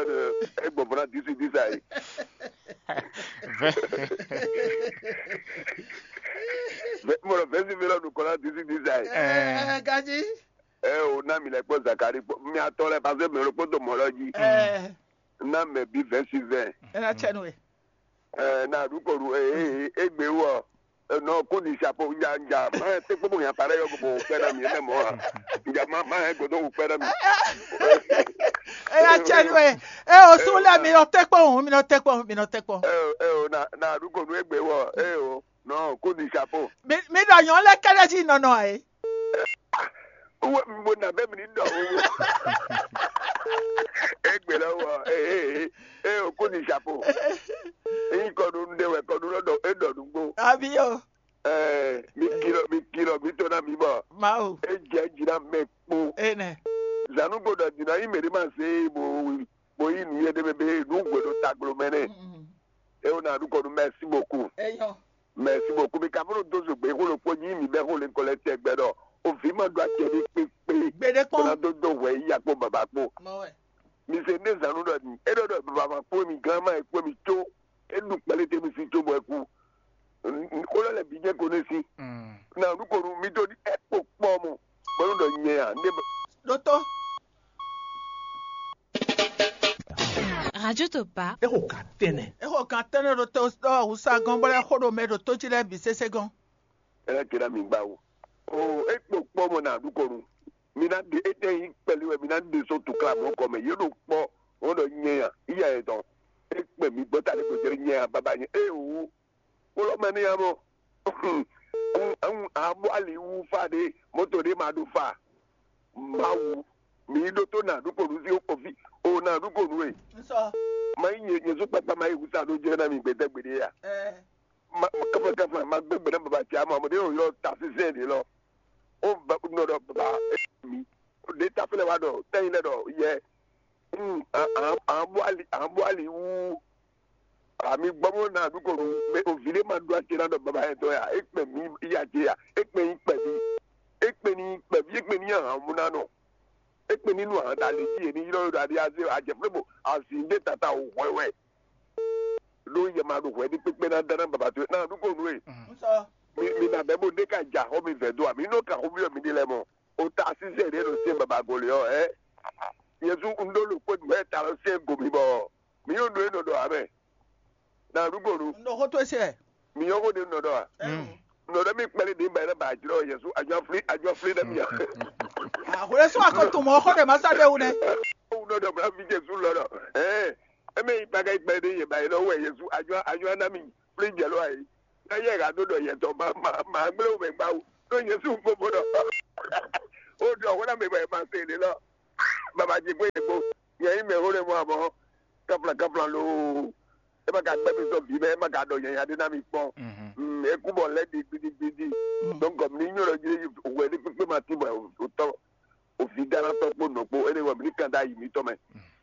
é gbɔn fɔ́n ná dísí dísá yi. Mɔlɔ vɛ̌nsi vɛ́n lɔ ɖo kɔ ná dísí dísá yi. Ɛɛ, ganjí. Ɛ o ná mi lɛ kpɔ Zakari kpɔ mi atɔ lɛ paseke mi lɔ kpɔtɔ mɔ lɔ jí. Ɛɛ. Ná mɛ bí vɛ̌nsi vɛ́n. Ɛ ná tsɛ nú we. Ɛ, na ɖu kɔ ɖu, ɛ, ɛ, ɛ, egbe wɔ, ɛ, nɔ kó di chapeau, nja, nja, ma, te kpó bo nya parɛ yɔ, bo kpɛ na mi, ɛ, mɔ, a. Nja, ma, ma, ɛ, godo, bo kpɛ na mi. Ɛ, ya tsɛ nú ɛ. Ɛ, o sún lɛ, mi nɔ tɛ kpɔn, mi nɔ tɛ kpɔn, mi nɔ tɛ kpɔn. Ɛ, ɛ, o, na, na ɖu kɔ ɖu egbe wɔ, ɛ, o, nɔ kó di chapeau. Mi, mi ɖɔ nyɔ lɛ kɛlɛ jí nɔnɔ ɛ. Wo, mo na bɛ mi ni dɔ wo. Egbe lɔ wɔ, ee, ee, ee, o ko ni chapeau. Eyi kɔnu ɖe wɛ kɔnu lɔ dɔ e dɔ nugbo. Abi o. Ɛɛ, mi kilɔ, mi kilɔ, mi to na mi bɔ. Mawu. E jɛ dzi na mɛ kpo. Enɛ. Zanu gbɔdɔ dzi na yi mɛ de ma se bo bo yi nu yɛ de bɛ be nu gbɔdɔ taglo mɛ nɛ. E o na du kɔnu, merci beaucoup. Eyɔ. Merci beaucoup. Mi ka fɔ́n dó zogbe xó ɖokpó nyí mi bɛ́ xó lě kɔ lɛ́ tɛgbɛ ɖɔ o vǐ ma ɖó acɛ ní kpékpé. Gbeɖé kpɔ́n. Bó ná dó dó hwɛ yíya kpó baba kpó. Mɔ wɛ. Mi se ní zǎn nú ɖɔ din. É ɖɔ ɖɔ baba kpó mi gán ma e kpó mi có. É ɖu kpɛlɛ tɛ mi sí có bɔ é kú. Xó lɔ lɛ bǐ jẹ́ ko ní sí. Na nu ko nu mi dó ní é kpo kpɔ́ mɔ. Bɔnu ɖɔ nyɛ a, ndé ba. Ɖótó. Radio Topa. Exo ka tɛnɛ. Exo ka tɛnɛ ɖo to ɔ wusa gɔn bɔ lɛ xo ɖo mɛ ɖo to jí lɛ bi sese gɔn. Ela kira mi gba wo. O e kpo kpɔ mo na du kɔnu. Mi na de e tɛ yi kpɛli wɛ mi na de so tukla mɔ kɔ mɛ ye ɖo kpɔ. Wɔn ɖɔ nyɛ ya iya yɛ tɔn. E kpɛ mi gbɔ ta de ko jɛ nyɛ ya baba nyɛ e wu. Kpɔlɔ mɛ ni ya mɔ. Abu ali wu fa de moto de ma do fa. Mawu, mi ɖótó na ɖu konu sí ofi o na ɖu konu e. Nsɔ. Ma yi nye nye sukpakpa ma yi wusa ɖo jɛ na mi gbɛdɛ gbeɖe ya. Ɛ. Ma kafa kafa ma gbɛ gbɛ na baba tia ma mo de o yɔ ta sisɛ de lɔ. O ba nɔ dɔ baba mi. De ta fɛnɛ wa dɔ tɛyin lɛ dɔ yɛ. Hmm, an an an bɔ ali an bɔ ali wu. Ami gbɔmɔ na du ko nu mɛ o vi ɖe ma ɖu ati na ɖɔ baba yɛ tɔ ya e kpɛ mi ya je ya e kpɛ yi kpɛ mi e kpɛ ni kpɛ vi e kpɛ ni ya han mu na nɔ e kpɛ ni nu han da le ji ye ni yrɔ yrɔ adi aze adze fle bo azi de tata o hwɛ wɛ. Ɖo yɛ ma ɖo hwɛ ni kpekpe na da na baba to na du ko nu e. Mi mi na bɛ bo de ka ja xɔ mi vɛ do a mi nɔ ka xɔ mi yɔ mi de lɛ mɔ o ta sisɛ de ɖo se baba gole ɔ ɛ. Yesu un ɖo lo kpɛ du ɛ ta lɔ se go mi bɔ. Mi yɔn ɖo e nɔ ɖɔ amɛ. Na ɖu gbɔnu. Nɔ xɔ to se. Mi yɔn xɔ ɖe nɔ ɖɔ a. Nɔ ɖe mi kpɛli ɖe ba yɛrɛ ba jlɔ yɛsu adzɔ fli adzɔ fli ɖe mi a. Àhwlɛ sún akɔtun mɔ xɔ ɖe ma sa ɖe wu nɛ. Wu nɔ ɖɔ bla fi Jesu lɔ ɖɔ. Ɛɛ, eme yi kpaka yi kpɛli ɖe yɛ ba yɛrɛ wɛ yɛsu adzɔ adzɔ ana mi fli jɛ lɔ ayi. Eye ha do ɖɔ yɛtɔ ma ma ma gblẽ wo mɛ gbawo. Ɖo Yesu fofo ɖɔ. O ɖɔ xó na mɛ bɔ ma se le lɔ. Baba dzi gbé yegbo. Yɛ yi mɛ xó ɖe mɔ abɔ. Kafla kafla lo. E ma ka gbɛ mi sɔ vi mɛ e ma ka ɖɔ nyanya ɖe na mi kpɔn. Mm, e ku bɔ lɛ di gbidi gbidi. Donc comme ni nyɔ ɖɔ dzi wɛ ni kpekpe ma ti bɔ o tɔ o vi dara tɔ kpo nɔ kpo e ne wɔ mi ni kan da yi mi tɔ mɛ.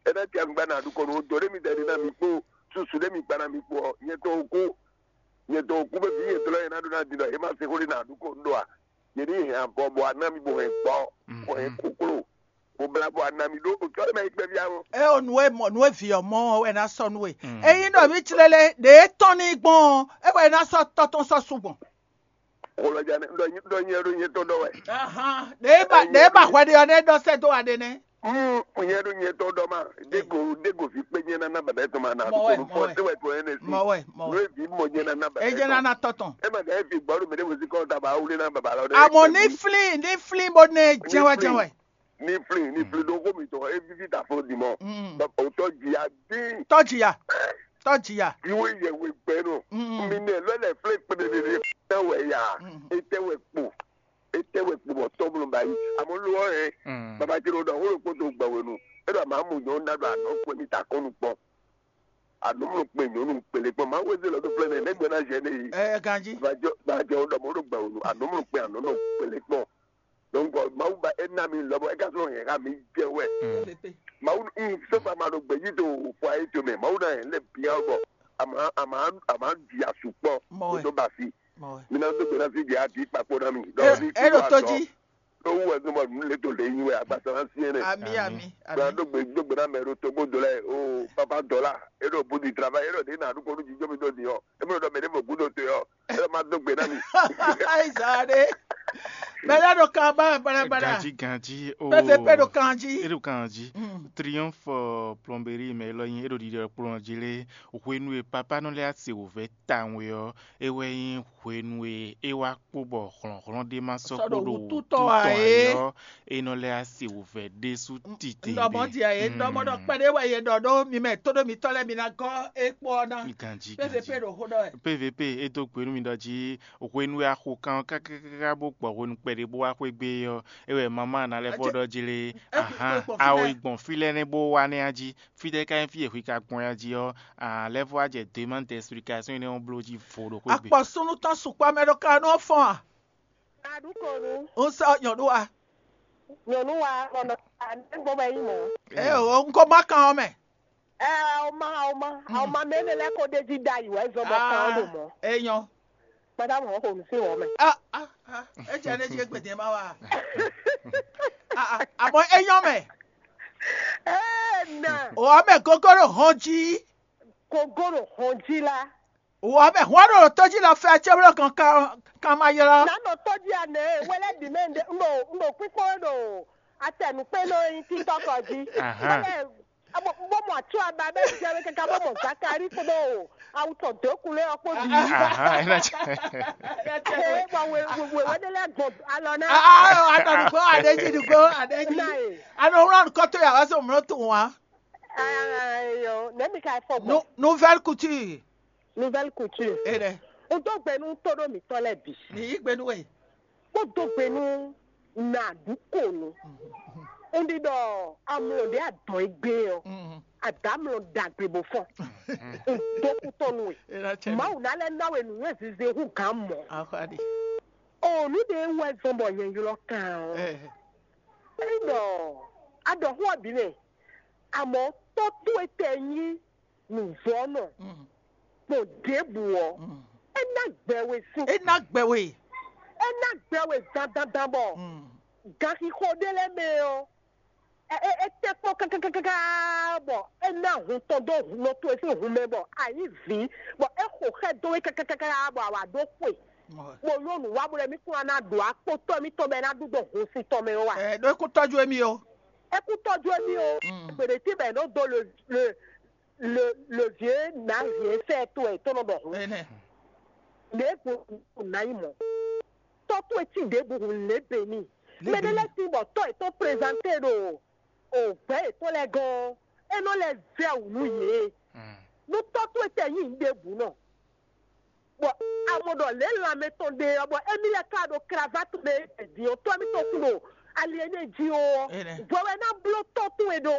E na ti agba na du kɔnɔ o do ɖe mi da ɖe na mi kpo susu ɖe mi gba na mi kpo ɔ nyɛ tɔ o ko. Nyɛ dɔn kú bɛ bí yɛ tlɔ yɛ ná ɖó ná di ɖɔ yɛ má se xó ɖé ná ɖu kó ɖó a. Yɛ ní hɛn avɔ bɔ aná mi bɔ hɛn gbɔ, bɔ hɛn kókló, bɔ bla bɔ aná mi ɖó o tlɔ yɛ má yi kpɛ bia o. Ɛ o nǔ e mɔ nǔ e vǐ ɔ́ mɔ ɔ́ wɛ ná sɔ́ nú we. Ényí ɖɔ mí tlélé ɖě tɔn ní gbɔn ɔ́, é wɛ ná sɔ́ tɔ́ tɔn sɔ́ su gbɔn. Xolɔjane ɖɔ nyɛ ɖɔ nyɛ ɖo nyɛ tɔn ɖɔ wɛ. Ɖě ba ɖě ba hwɛ ɖe ɔ́ nɛ ɖɔ sɛ́ dó wa ɖe nɛ́. Mm, nyɛ ɖo nyɛ tɔn ɖɔ ma. Dego dego fi kpe nyɛ nana bɛbɛ tɔn ma na. Mɔ wɛ, mɔ wɛ. Te wɛ tɔn yɛ ne si. Mɔ wɛ, mɔ wɛ. Nue vi mɔ nyɛ nana bɛbɛ. Ejɛ nana tɔtɔn. E ma ka fi gbɔ ɖo mɛ ɖe mo si kɔ ta ba wuli na baba lɔ ɖe. Àmọ́ ní flin ní flin bó ní jẹwẹ jẹwẹ. Ní flin ní flin ɖo xó mi tɔn e vivi ta fo di mɔ. O tɔ jia dín. Tɔjiya. Tɔjiya. Iwe yɛ we gbɛ nɔ. Mi nɛ lɔ lɛ flin kpɛdɛdɛdɛ tɛ wɛ ya. E tɛ wɛ kpo. E tɛ wɛ kpo bɔ tɔmlɔ ba yi. Àmọ́ lɔ ɛ. Baba ti ɖo ɖɔ xó ɖo kpoto gbɛ wenu. E ɖɔ ma mu nyɔ na ɖo anɔ kpɛ mi ta kɔnu kpɔ. Anumlo kpe nyɔnu kpele kpɔ ma weze lɔ do flɛ nɛ ne gbɛ na jɛ ne yi. Ɛ ganji. Bajɔ bajɔ dɔ mo do gbɛ wonu anumlo kpe anɔnɔ kpele kpɔ. Donc Mawu ba e na mi lɔbɔ e ka sɔrɔ yɛn ka mi jɛ wɛ. Mawu un so ba ma do gbɛ yi do fɔ ayi to mɛ Mawu na yɛn lɛ bia bɔ ama ama ama di asu kpɔ. Mɔ wɛ. Do ba fi. Mɔ wɛ. Mi na do gbɛ na fi di adi kpakpo na mi. E e ɖo to ji. Ɖó wú wɛ nú bɔ nǔ lě dǒ lě nyi wɛ agbasa ná syɛ́n nɛ. Ami ami Gbɔn ami. Dó gbe dó gbe ná mɛ ɖo togbó do lɛ o papa dɔla e ɖo bu di travail e ɖo ɖe na ɖu kɔnu jijɔ mi dó di ɔ e mɛ ɖɔ mɛ ɖe mɔ gúdo to ɔ e ɖɔ ma dó gbe ná mi. Ayiza ɖe. Mɛ lɛ ɖo kan ba bala bala. Ganji ganji o. Pɛpɛpɛ ɖo kan ji. E ɖo kan ji. Triomphe euh, plomberie mɛ lɔ nyi e ɖo ɖiɖɔ kplɔn ji lé. Hwenu e papa nɔ lɛ asi wòvɛ tawun ɔ e wɛ nyí hwenu e é wá kpó bɔ hlɔ̌nhlɔ́n ɖé ma sɔ́ kpó ɖo wútútɔ́ ǎ é ɔ́, é nɔ lɛ́ asi wǔvɛ́ ɖésú titewungbe. Ɖɔ mɔ̌ din ǎ é ɖɔ mɔ ɖɔ kpɛɖé wɛ yě ɖɔ ɖó mi mɛ tóɖó mitɔ́ lɛ́ɛ mi ná gɔ́ é kpó ɔ́ ná. Ganjí PVP ganjí ɖo xó ɖɔ wɛ. PVP é dó gbe nú mi ɖɔ jí hwenu e a xo kan ɔ́ kákákáká bó gbɔ hwenu kpɛɖé bó wá xwé gbé é ɔ́, é wɛ mamá ná lɛ́ vɔ ɖɔ jí lé. Ahán, a yi gbɔn fí lɛ́ɛ nɛ́ bó wá nɛ́ á jí. Fítɛ́ ka nyí fí e hwi ka gbɔn ya jí ɔ́, a lɛ́ vɔ wá jɛ demande d'explication énɛ́ ɔ́ bló jí vo ɖo xwé gbe. Akpɔ súnnu tɔn sukpɔ mɛ ɖo ka nɔ fɔn a? Aɖukonu. N sɔ nyɔnu wa. Nyɔnu wa mɔnɔ anɛgbɔ bɛ yi mɔ. Ɛ o n ko ma kan ɔ mɛ. Ɛ o ma o ma o ma mɛ ne lɛ ko de ji da yi wɛ zɔn bɔ kan o do mɔ. E nyɔ. Madame o ko mi si wɔ mɛ. Ah ah ah. E jẹ ne ji egbede ma wa. Ah ah. Àmọ́ e nyɔ mɛ. Ee na. O ame gogoro hɔn ji. Gogoro hɔn ji la. Wɔ mɛ hɔn ɖo tɔjí lɔ fɛ cɛblɔ kan kan kan ma ylɔ. Nanɔ tɔjí anɛ wɛlɛ di mɛ nde ŋɖo ŋɖo kpíkpɔ́n ɖo atɛnukpé nɔ nyi títɔ́ kɔ jí. Wɛlɛ bó mɔ atsɔ aba bɛ jɛ bɛ kaka bó mɔ Zakari kpódó awutɔ dó kulé ɔkpó di. Ee bɔ wewede lɛ gbɔn alɔ na. Atɔnugbo aɖeji nugbo aɖeji. Anɔ wlɔ nukɔtɔ yà wá sɔ mlɔ tó wa. Ayɔ nɛmi ka fɔ gbɔ. Nouvelle couture. Nouvelle couture. Eɖe. N dó gbe nú tóɖó mǐtɔn lɛ́ɛ bǐ. Mi yí gbe nú we. Kpó dó gbe nú nàdúkònú. N ɖi ɖɔ amlɔ ɖé adɔn e gbé ɔ. Àdámlɔ ɖagbe bó fɔn. N dó kútɔ́ nú we. Mawu ná lɛ́ ná we nǔnywɛ́ zize hú gǎn mɔ̌. Axɔ́aɖi. O nǔ ɖé wɛ zɔn bɔ nyɛ ylɔ́ kan ɔ́. Ényí ɖɔ a ɖɔ xó ɔ́ bǐ mɛ, àmọ́ tɔ́ towe tɛ nyí nǔvɔ́nɔ gbɔn ɖěbǔ ɔ́, é ná gbɛ we sín. É ná gbɛ we. É ná gbɛ we dandandan bɔ ganxixo ɖé lɛ́ɛ mɛ ɔ́, é é tɛ́ kpɔ́n kákákáká bɔ é ná hun tɔn dó nɔ towe sín hun mɛ bɔ a nyǐ vǐ, bɔ é xo xɛ dó we kákákáká bɔ a wǎ ɖó xwe. Bó nyɔ́ nǔ wa bó lɛ́ mí kún ná ɖo akpótɔ́ émítɔn bɔ é ná ɖu dó hun sin tɔn mɛ ó wa. Ɛ ɖó é kún tɔ́jú émí ó. É kún tɔ́jú émí ó. Gběɖé tí bɔ é nɔ dó le le le le vieux nǎ vieux fɛ tó ɛ tó nɔ ɖɔ hun. Ɛnɛ. Lě gbó nǎ yi mɔ. Tɔ́ towe cí ɖěbǔ hun lě bě n'i. Mɛ ɖé lɛ́ɛ tín bɔ tɔ́ yětɔn prezanté ɖo o gbɛ̌ yětɔn lɛ́ɛ gɔ́n ɔ́, é nɔ lɛ́ vɛ́ wǔ nú yě. Nú tɔ́ towe tɛ nyí nǔɖěbǔ nɔ. Bɔ a mɔ ɖɔ lě lanmɛ tɔn ɖe ɔ́, bɔ émí lɛ́ ka ɖo kravat mɛ din ɔ́, tɔ́ émítɔn kú ɖo ali énɛ́ jí ó ɔ́, hwɛ wɛ ná bló tɔ́ towe ɖó.